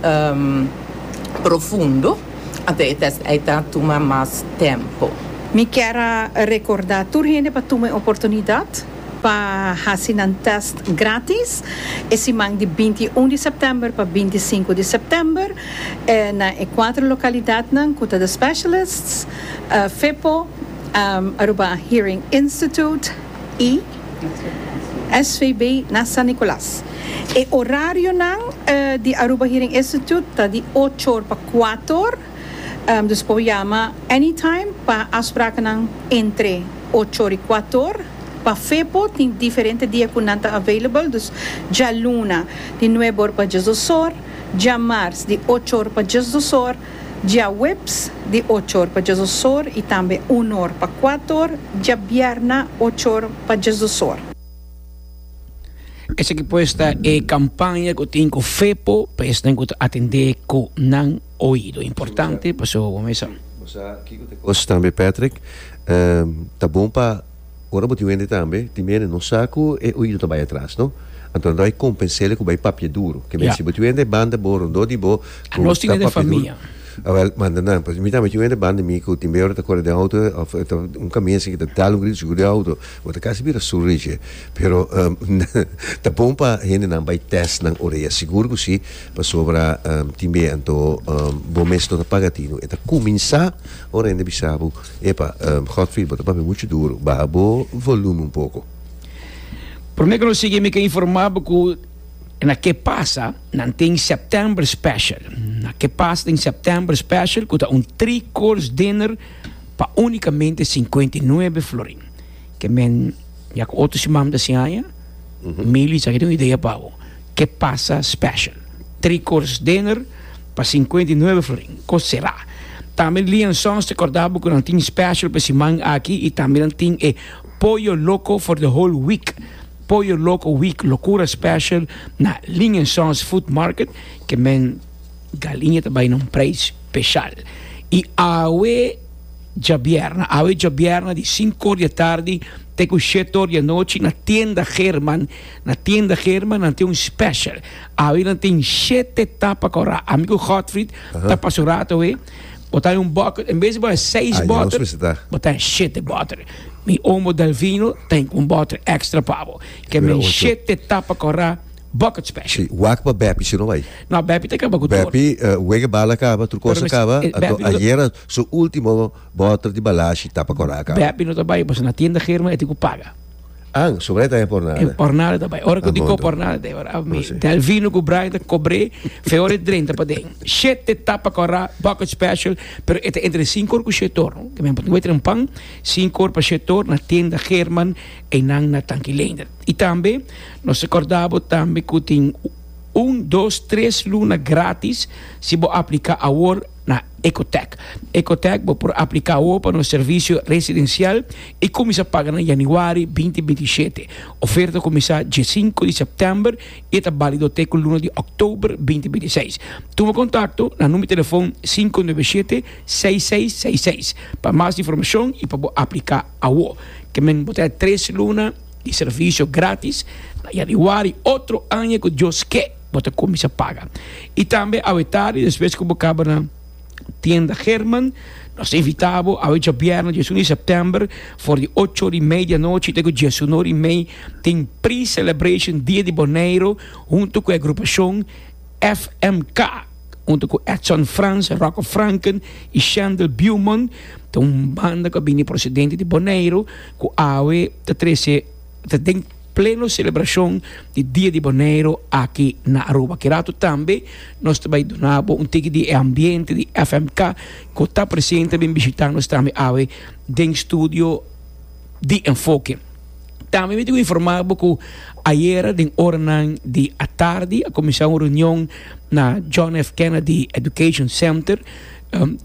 profundo, anto e tèst ei ta tuma mas tempu. Mi kier a rekordá tur hende pa tuma e oportunidat pa hasi nan tèst grátis e siman di 21 di sèptèmber pa 25 di sèptèmber na e kuater lokalidatnan ku ta The Specialists, FEPO, Aruba Hearing Institute i SVB na San Nicolas. E orarionan di Aruba Hearing Institute ta di ocho or pa kuater or, dus por yama anytime pa afsprakennan entre ocho or i kuater or. Pa FEPO tin diferente dia ku nan ta available, dus djaluna di nuebe or pa diesdos or, djamars di ocho or pa diesdos or, djaweps di ocho or pa diesdos or i tambe un or pa kuater or, djabièrna ocho or pa diesdos or. Esaki pues ta e campaña cu tin cu FEPO pa esnan cu ta atende cu nan oido. Importante pasobra bo mesa. Bo sa kico ta e cos tambe Patrick? Ta bon pa ora bo tin wende tambe tin mene no sa cu e oido ta bay atras no. Anto nan ta bay compensele cu bay papia duro. Ke men si bo tin wende banda bo rondó di bo cu Nos tin ta e den papia duro. famia. Awel, manda nan. Pasobra mi tambe tin wende banda mi cu tin be ora ta core den auto of ta un caminda asina cu ta dal un grito sigur den auto. Bo ta casi bira sur riche. Pero ta bon pa hendenan bai test nan orea. Sigur cu si, pasobra tin be anto bo mes no ta paga tinu. E ta cuminsa ora hende bisa bo, Epa, Godfried, bo ta papia mucho duro. Baha bo volume un poco. Prome cu nos sigui mi ke informa bo cu na ke pasa nan tin September special. Na ke pasa tin September special cu ta un three course dinner pa unicamente 59 florin. Ke men ya ku otro siman ta sin aña, Mili sa ke tin un idea pa bo. Ke pasa special. Three course dinner pa 59 florin. Kos sera. Tambe Lee and Sons ta korda bo ku nan tin special pa e siman aki i tambe nan tin e Pollo Loco for the whole week. Pollo Loco Week Locura Special na Lee and Sons Food Market. Ke men galiña ta bai na un prijs special. I awe Djabièrna, awe djabièrna di sinku or di atardi te ku shete or di anochi na Tienda Geerman, na Tienda Geerman nan tin un special. Awe nan tin shete tapa kòrá. Ami ku Godfried ta pasa un rato awe, bo ta un bucket, en bes di bo haña seis bòter, bo ta haña shete bòter. Mi omo Delvino ta hinka un bòter extra pa bo. Ke men shete tapa kòrá. Bucket special. Si, wak pa Beppie si no bai. No, Beppie ta kaba ku tur. Beppie, wega bala kaba, tur kos a kaba, anto ayera su ultimo bòter di balashi tapa kòrá a kaba. Beppie no ta bai, pasobra na tienda Germa e tin ku paga. An, sobra e ta haña pornada. E pornada ta bai. Ora ku di ko pornada ta ora mi Delvino ku Brian ta kobr'é, fe ora e drenta paden. Shete tapa kòrá, bucket special, pero e ta entre sinku or ku shete or, no? Ke men por tin wet trempan, sinku or pa shete or na tienda German einan na Tanki Leendert. I tambe nos ta kòrda bo tambe ku tin un, dos, tres luna gratis si bo apliká awor na Ecotech. Ecotech bo por apliká awor pa nos servisio residensial i kuminsá paga na yanüari 2027. Oferta kuminsá diesinku di sèptèmber i e ta bálido te ku luna di òktober 2026. Tuma kontakto na number di telefòn 597 6666 pa mas informashon i pa bo apliká awor. Ke men bo ta tres luna. Di servicio gratis na januari otro aña cu Dios ke bo ta cuminsa paga. Y tambe awe tardi despues cu bo caba na tienda Herman nos ta invita bo awe djabièrnè diesun di september for di ocho ora y mei di anochi te cu diesun ora y mei tin pre-celebration dia di Boneiro hunto cu e agrupacion FMK. Hunto ku Edson Frans, Rocco Franken i Shendel Beaumont ta un banda ku a bini prosedente di Boneiru ku awe ta trese ta den pleno selebrashon di Dia di Boneiru aki na Aruba. Ki rato tambe nos ta bai duna bo un tiki di e ambiente di FMK ku ta presente bin bishita nos tambe awe den studio di Enfoke. Tambe mi tin ku informa bo ku ayera den oranan di atardi a kuminsá un reunion na John F. Kennedy Education Center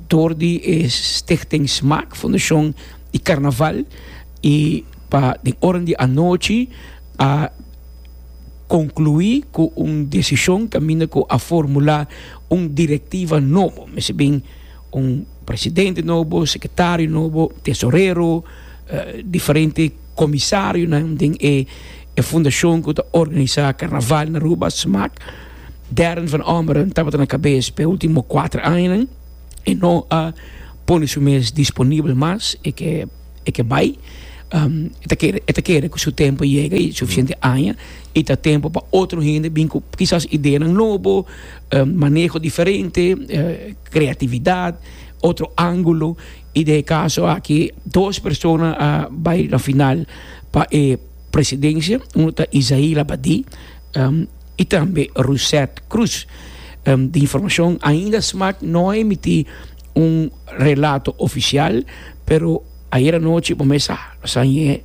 dor di e Stichting Smaak, Fundashon di Karnaval, i pa den oran di anochi a. konkluí ku un desishon kaminda ku a formulá un direktiva nobo. Mester bin un presidente nobo, sekretario nobo, tesorero, diferente komisarionan den e fundashon ku ta organisá karnaval na Aruba, smaak. Darren van Ommeren tabata na kabes pa e ultimo kuater añanan. E no a pone su mes disponibel mas, e ke e ke bai. E ta kere e ta kere ku su tempo yega i sufisiente aña i ta tempo pa otro hende bin ku kisas ideanan nobo, maneho diferente, kreatividat, otro ángulo. I den e kaso aki dos persona a bai na final pa e presidensia, uno ta Isaí Labadie i tambe Rusette Cruz. Di informashon ainda smaak no a emití un relato ofisial, pero ayer anochi bo mes sa nos a hañ'é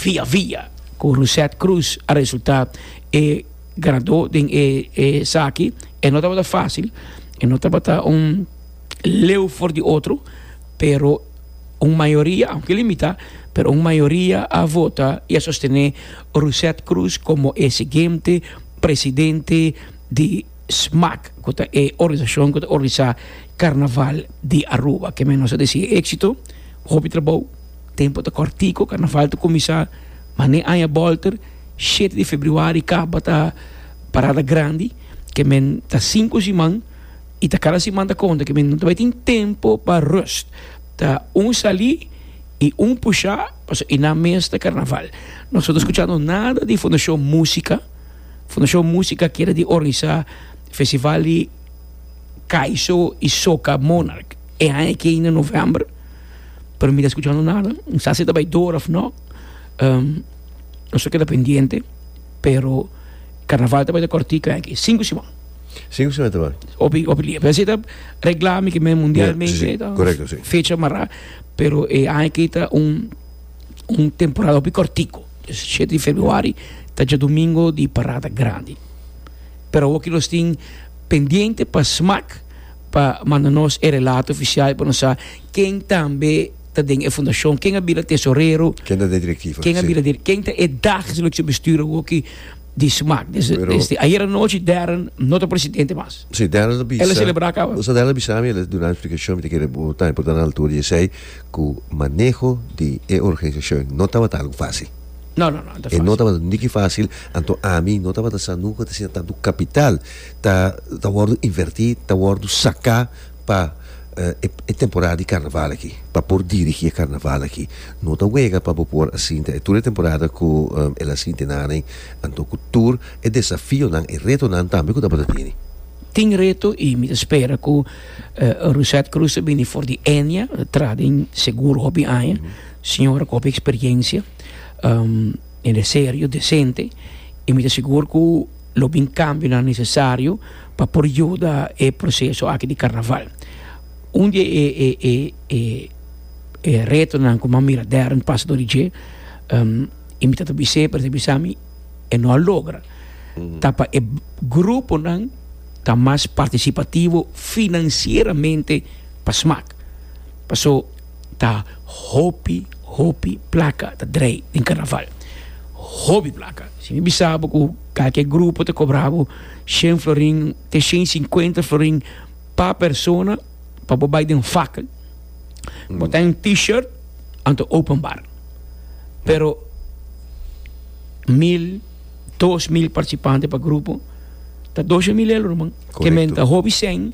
via via ku Rusette Cruz a resultá e ganadó den e esaki. E no tabata fásil, e no tabata un leu for di otro, pero un mayoria, aunke limitá, pero un mayoria a vota i a sostené Rusette Cruz komo e siguiente presidente di smaak, ku ta e organisashon ku ta organisá Karnaval di Aruba. Ke men nos a desea éksito, hopi trabou, tempu ta kòrtiku, karnaval ta kuminsá mané aña bòlter, shete di febrüari kaba ta parada grandi, ke men ta sinku siman i ta kada siman ta konta, ke men no ta bai tin tempu pa rùst, ta un salí i un pushá pasobra i nan mes ta karnaval. Nos no ta skuchando nada di Fundashon Músika. Fundashon Músika kere di organisá festival di Kaiso i Soca Monarch e aña aki na novèmber, pero mi ta skuchando nada. No sa si ta bai dor òf no. Nos ta keda pendiente, pero karnaval ta bai ta kòrtiku aña aki, sinku siman. Sinku siman ta bai? Hopi, hopi dia. Pero esei ta reglá mi ke men mundialmente ta fecha mará, pero e aña aki ta un un temporada hopi kòrtiku. Shete di februari ta djadumingo di parada grandi. Pero awoki nos tin pendiente pa smaak pa manda nos e relato oficial pa nos sa ken tambe ta den e fundacion, ken a bira tesorero, Ken ta den directiva, ken a bira dir, ken ta e dagelijkse bestuur awoki di smaak. Desde, Pero desde ayer anochi Darren no ta presidente mas. Sí, Darren a bisa. El a celebra caba. Osa Darren a bisa mi, el a duna un explicacion, mi ta kere bo tambe por ta na altura di esey. Ku maneho di e organisashon no tabata algu fásil. No, no, no, no ta E no fásil. tabata niki fásil, anto ami no tabata sa nunka ta asina tantu kapital ta ta wòrdu invertí, ta wòrdu saká pa e e temporada di karnaval aki, pa por dirigí e karnaval aki. No ta wega pa bo por a sinta e tur e temporada ku el a sinti nan, anto ku tur e desafionan, e retonan tambe ku tabata tini. Tin reto y mi ta spera cu Rusette Cruz ta bini for di Enia, traha den seguro hopi aña, señora cu hopi experiencia, hende serio, decente y mi ta sigur cu lo bin cambionan necesario pa por yuda e proceso aki di carnaval. Un di e e retonan cu mi a mira Darren pasa door di dje y mi ta ta bis'é pero e ta bisa mi e no a logra. Ta pa e gruponan ta mas partisipativo finansieramente pa smak. Paso ta hopi hopi plaka ta drei den karnaval. Hopi plaka. Si mi bisa bo ku kalke grupo ta kobra bo shen florin te shen sinkuenta florin pa persona pa bo bai den fakkel. Bo ta en t-shirt anto open bar. Pero mil. 2000 participante pa grupo ta 12000 euro man. Ke men ta hopi sen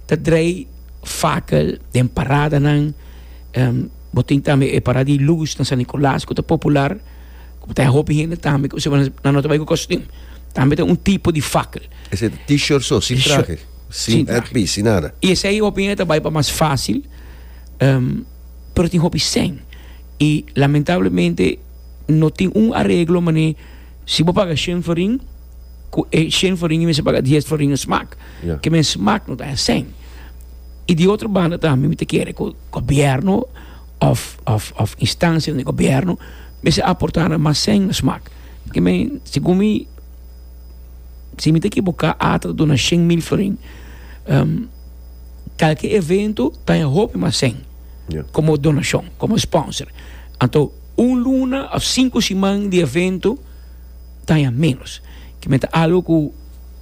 ta drei fakel den paradanan. Bo tin tambe e parada di luz na San Nicolas ku ta popular. Ku ta hopi hende tambe ku nan no ta bai ku kostuum. Tambe ta un tipo di fakel. Esei ta t-shirt so, sin trahe, sin headpiece, sin nada. I esei hopi hende ta bai pa mas fácil. Pero tin hopi sen. I lamentablemente no tin un areglo mane si bo paga shen florin ku e shen florin mester paga dies florin na smak. Ke men smak no ta e sen. I di otro banda tambe mi ta kere ku gobierno of of of instansianan di gobierno mester aporta nan mas sen na smak. Ke men segun mi si mi ta ekiboka ata ta duna 100,000 florin kalke evento ta haña hopi mas sen komo donashon komo sponsor. Anto un luna of sinku siman di evento ta haña menos. Ke men ta algo ku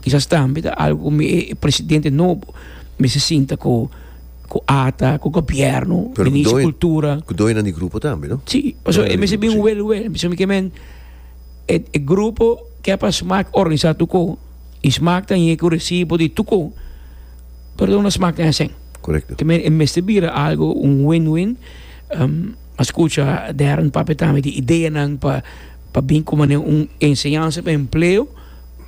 kisas tambe ta algo ku mi e presidente nobo mester sinta ku ku ata, ku gobièrnu, Pero ku minister doño, kultura. ku doñonan di grupo tambe, no? Si, pasobra e Doñonan di mester grupo, bin si. wel wel. Pasobra mi ke men e e grupo ke pa smak organisá tur ko i smak ta yega ku resibo di tur ko, pero no smak ta hesèn. Korekto. Ke men e mester bira algo un win-win. A skucha Darren papia tambe di ideanan pa pa bin ku manera un enseñansa pa empleo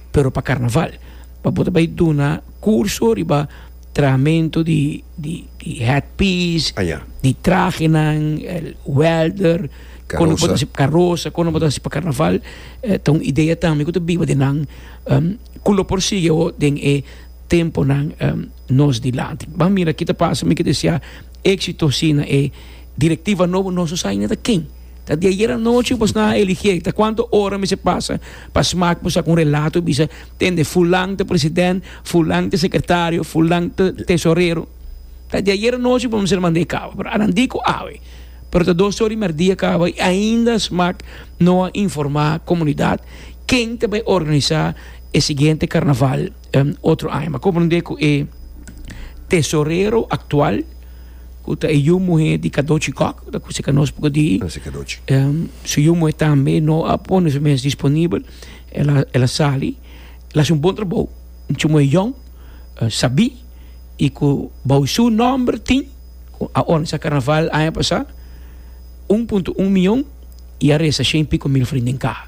pero pa karnaval. Pa bo ta bai duna kurso riba trahamentu di di di headpiece, Ah, ya. di trahenan, el welder, kon bo ta Karosa. hasi karosa, kon bo ta hasi pa karnaval. Ta un idea tambe ku ta biba den nan ku lo por sigui awo den e temponan nos dilanti. Ban mira ki ta pasa, mi ke desea éxito si na e directiva nobo, nos no sa ainda ta ken. Ta di ayer anochi bos nan a eligié, ta cuanto ora mester pasa pa smak bo saca un relato y bisa, tende fulan ta president, fulan ta secretario, fulan ta tesorero. Ta di ayer anochi bo mester manda e caba, pero anan di cu awe. Pero ta dos ora y merdia caba y ainda smak no a informa comunidad ken ta bay organisa e siguiente carnaval otro aña. Mi a comprende cu e tesorero actual cu ta e yu muhe di Cadochi Kok, cu ta cu seca nos poco di. Ah, si Cadochi. Su yu muhe tambe no a pone su mes disponibel, el a, el a sali, el a haci un bon trabou, un chu muhe yong, sabi y cu bou su nomber tin cu a organisa carnaval aña pasa, 1.1 miyon y a reza shen y pico mil florin den caha.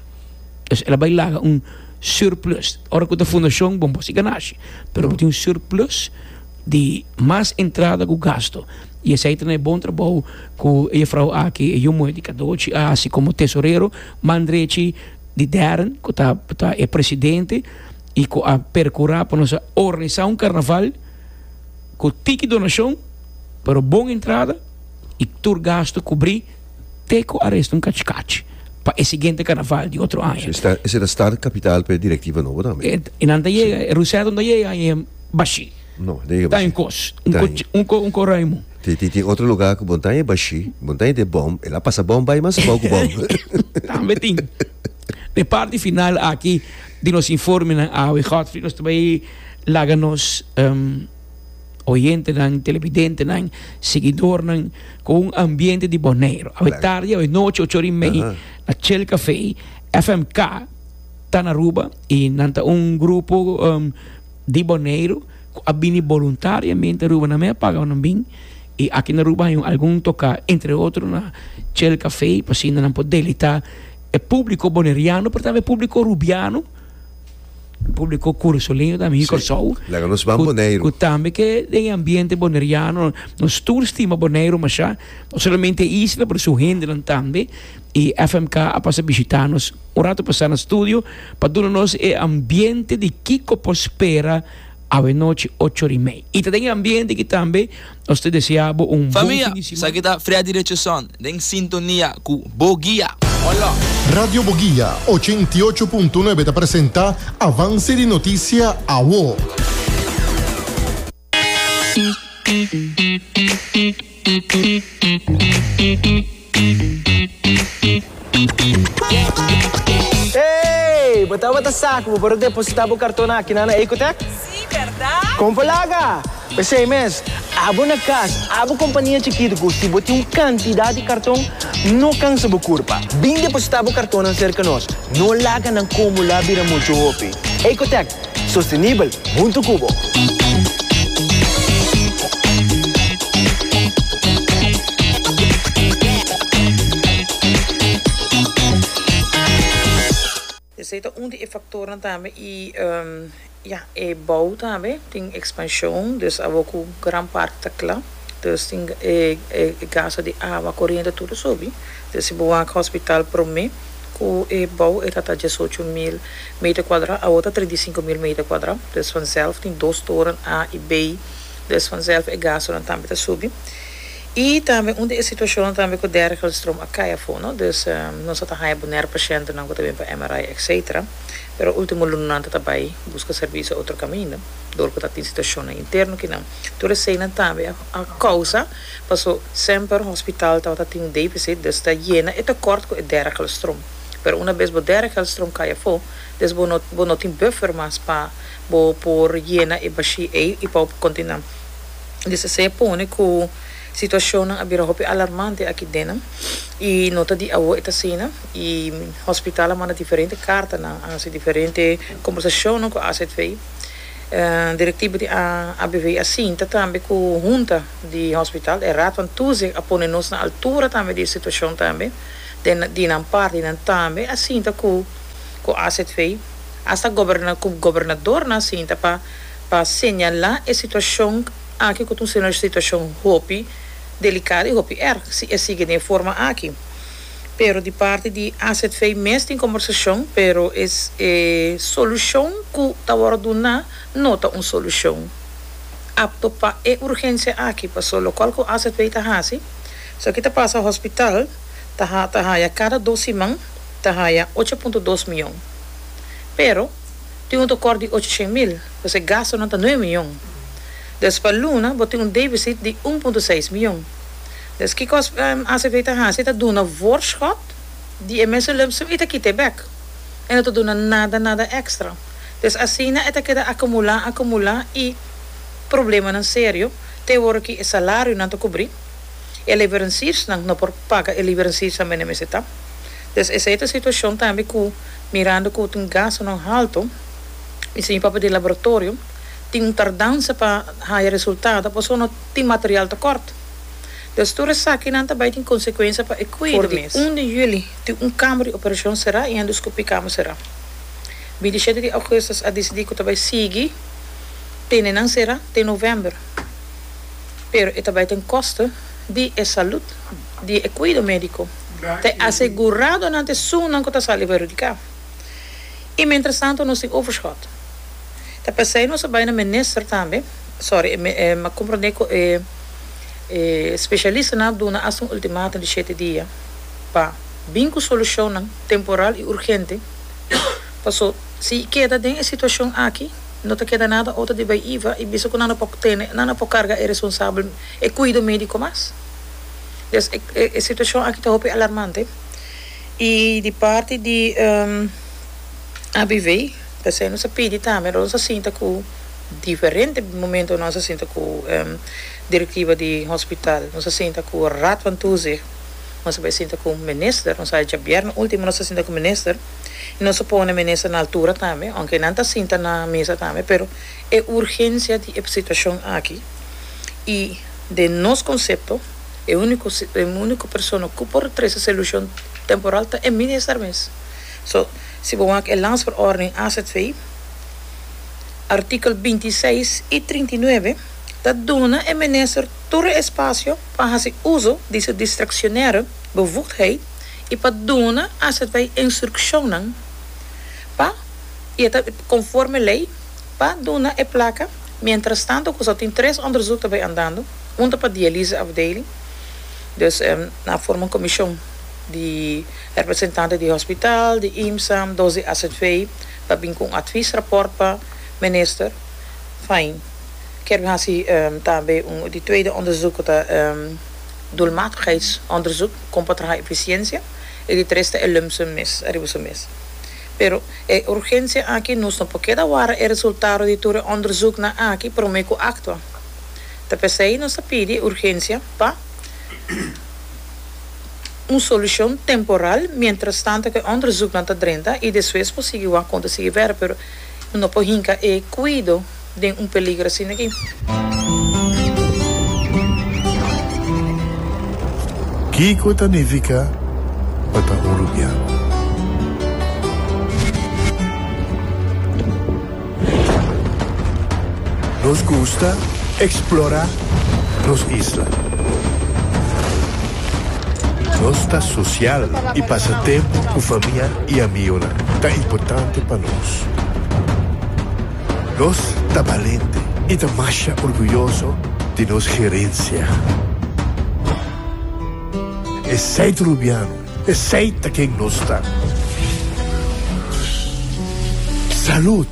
Dus el a bai laga un surplus. Ora cu ta fundacion, bon bo si ganashi, pero bo tin un surplus di mas entrada ku gasto. I esei ta na e bon trabou ku e jefrou aki, e yu muhé di Kadochi a hasi komo tesorero, man drechi di Darren ku ta ta e presidente i ku a perkurá pa nos a organisá un karnaval ku tiki donashon pero bon entrada i tur gasto kubrí te ku a resta un kachikachi pa e siguiente karnaval di otro aña. Esei ta start kapital pa e direktiva nobo tambe. I nan ta yega, e Rusèt nan ta yega i e Bashí. No, den e Ta bashí. un kos. Un Ta ko, en- un ko, un ko ruimu. Tin, tin, tin otro lugar ku montaña e bashí, montaña de bom, el a pasa bom bai mas abou ku bom. Tambe tin. De parti final aki di nos informenan awe, Godfrey, nos ta bai laga nos um, oyentenan, televidentenan, seguidornan ku un ambiente di Boneiru. Awe Claro. tardi, awe nochi, ocho ora i mei, Aha. na Chill Café, FMK ta na Aruba i nan ta un grupo um, di Boneiru ku a bini boluntariamente Aruba nan mei a paga nan bin i aki na Aruba hay un algun toka entre otro na Chel Café pa asina nan por deleita e publico boneriano pero tambe e publico rubiano publico kurasoleño tambe hi Kòrsou Laga nos ban Boneiru. ku tambe ke den e ambiente boneriano nos tur stima Boneiru masha no solamente e isla pero su hendenan tambe i FMK a pasa bishita nos un rato pasá na studio pa duna nos e ambiente di kiko por spera awenochi ocho ora i mei. I ta den e ambiente aki tambe nos ta desea bo un bon Famia, fin di simana. esaki ta Freddy Richardson den sintonia ku Bo Guia. Hola! Radio Boguia 88.9 ta presenta Avance di Noticia Awo. Hey! Bo tabata sa ku bo por a depositá bo karton aki na na Ecotech? Sí, bèrdat? Kon por laga! P'esei mes, abo na kas, abo kompania chikitu ku si bo tin un kantidat di karton, no kansa bo kurpa. Bin depositá bo kartonnan serka nos. No laga nan kumulá bira muchu hopi. Ecotech, Sostenibel huntu ku bo. Esei ta un di e faktornan tambe i ya e bou tambe tin ekspanshon dus awor ku gran parti ta kla dus tin e gasto di awa koriente tur a subi dus si bo wak hospital prome Ku e bou e ta ta diesocho mil meter kuadrá, awor ta 35 mil meter kuadrá. Dus vanzelf tin dos toren A i B, dus vanzelf e gastunan tambe ta subi. I tambe un di e situashonnan tambe ku Dergelstroom a kai afó, no? Dus nos a ta haña boner pashentenan ku ta bin pa MRI etcetera, pero ultimo lunanan ta ta bai buska servisio otro kaminda dor ku ta tin situashonnan interno kinan. Tur eseinan tambe a kousa. Paso semper hospital tabata tin un deficit, dus ta yena e tekort ku e dergelstroom. Pero una bes bo derde geldstroom kai afó, des bo no bo no tin buffer mas pa bo por yena e bashí ei i pa bo por kontinuá. Des esei a pone ku situashonnan a bira hopi alarmante aki den i no ta di awo e ta asina i hospital a manda diferente kartanan, a hasi diferente kombersashonnan ku AZV. Direktiva di ABV a sinta tambe ku hunta di hospital, e Raad van Toezicht a pone nos na altura tambe di e situashon tambe, den di nan parti nan tambe a sinta ku ku AZV, asta goberna ku gobernadornan a sinta pa pa señalá e situashon aki ku ta un situashon hopi delikado i hopi erg si e sigui den e forma aki. Pero di parti di azv mes tin kombersashon, pero e e solushon ku ta wòrdu duná no ta un solushon apto pa e urgensia aki, paso lokual ku azv ta hasi, so ki ta pasa hospital ta ha ta haya kada dos siman ta haya 8.2 mion, pero tin un tekort di 800 mil, pues e gastunan ta 9 mion, dus pa luna bo tin un defisit di 1.6 mion. Dus kiko ACV ta hasi? Ta duna voorschot di e mesun lumpsum i ta kita e bek. E no ta duna nada nada extra. Dus asina e ta keda akumulá akumulá i problemanan serio te ora ki e salarionan ta kubrí. E leveranciersnan no por paga e leveranciersnan mene mester ta. Dus esei ta situashon tambe ku mirando ku tin gastunan halto i si mi papia di laboratorio tin un tardansa pa haya resultado pasobra no tin material tekort. Dus tur esakinan ta bai tin konsekuensia pa e kuido For di mes. Un di juli tin un kamber di operashon será i endoskopie kamer será. 27 di augustus a disidí ku ta bai sigui tene nan será te novèmber. Pero e ta bai ten kosto di e salud di e kuido médiko. Ta e aseguradonan ta esunnan ku ta sali perhudiká. I mientrastanto nos tin overschot. Ta p'esei nos a bai na minister tambe, sorry, mi a komprondé ku e E spesialistanan a duna asta un ultimatum di shete dia pa bin ku solushonnan temporal i urgente, paso si keda den e situashon aki no ta keda nada otro di bai iva i bisa ku nan no por tene, nan no por karga e responsabel e kuido mediko mas. Des e situashon aki ta hopi alarmante i di parti di ABV p'esei nos a pidi tambe nos a sinta ku. Diferente momento nos a sinta cu directiva di hospital, nos a sinta cu Raad van Toezicht, nos a bay sinta cu minister, nos a djabièrnè ultimo nos a sinta cu minister y nos a pone minister na altura tambe, aunke nan ta sinta na mesa tambe, pero e urgencia di e situacion aki y den nos concepto e unico e unico persona cu por trece solucion temporal ta e minister mes. So, si bo wak e landsverordening azv. Artíkel 26 i 39 ta duna e minister tur e espasio pa hasi uso di su diskretionaire bevoegdheid i pa duna azv instrukshonnan pa i e ta konforme lei pa duna e plaka mientrastanto ku sa tin tres onderzoek ta bai andando un ta pa dialyse afdeling dus nan a forma un komishon di representante di hospital di IMSA dos di azv. Ta bin ku un adviesrapport pa minister. Fijn. Kier bin hasi tambe un di tweede onderzoek ku ta doelmatigheidsonderzoek kon pa traha efisiensia i di tres ta e lumpsum mes ariba su mes. Pero e urgensia aki nos no por keda wara e resultado di tur e onderzoeknan aki prome ku aktua. Ta p'esei nos ta pidi urgensia pa. Un solucion temporal mientras tanto cu e onderzoeknan ta drenta y despues por sigui wak con ta sigui verder pero no por hinca e cuido den un peligro asina aki. Kiko ta nifiká pa ta un rubiano? Nos gusta eksplorá nos isla. Nos ta sosial i pasa tempu ku famia i amionan ta importante pa nos. Nos ta balente i ta masha orguyoso di nos gerensia. Esei ta Rubiano, esei ta ken nos ta. Salud!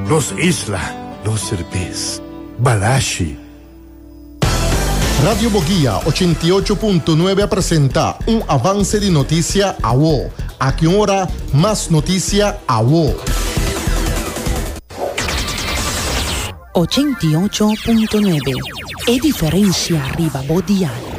Nos isla, nos serbes. Balashi. Radio Boguia 88.9 a presenta un avance di noticia awo. Aki un ora, mas noticia awo. 88.9 E diferencia riba bo dial.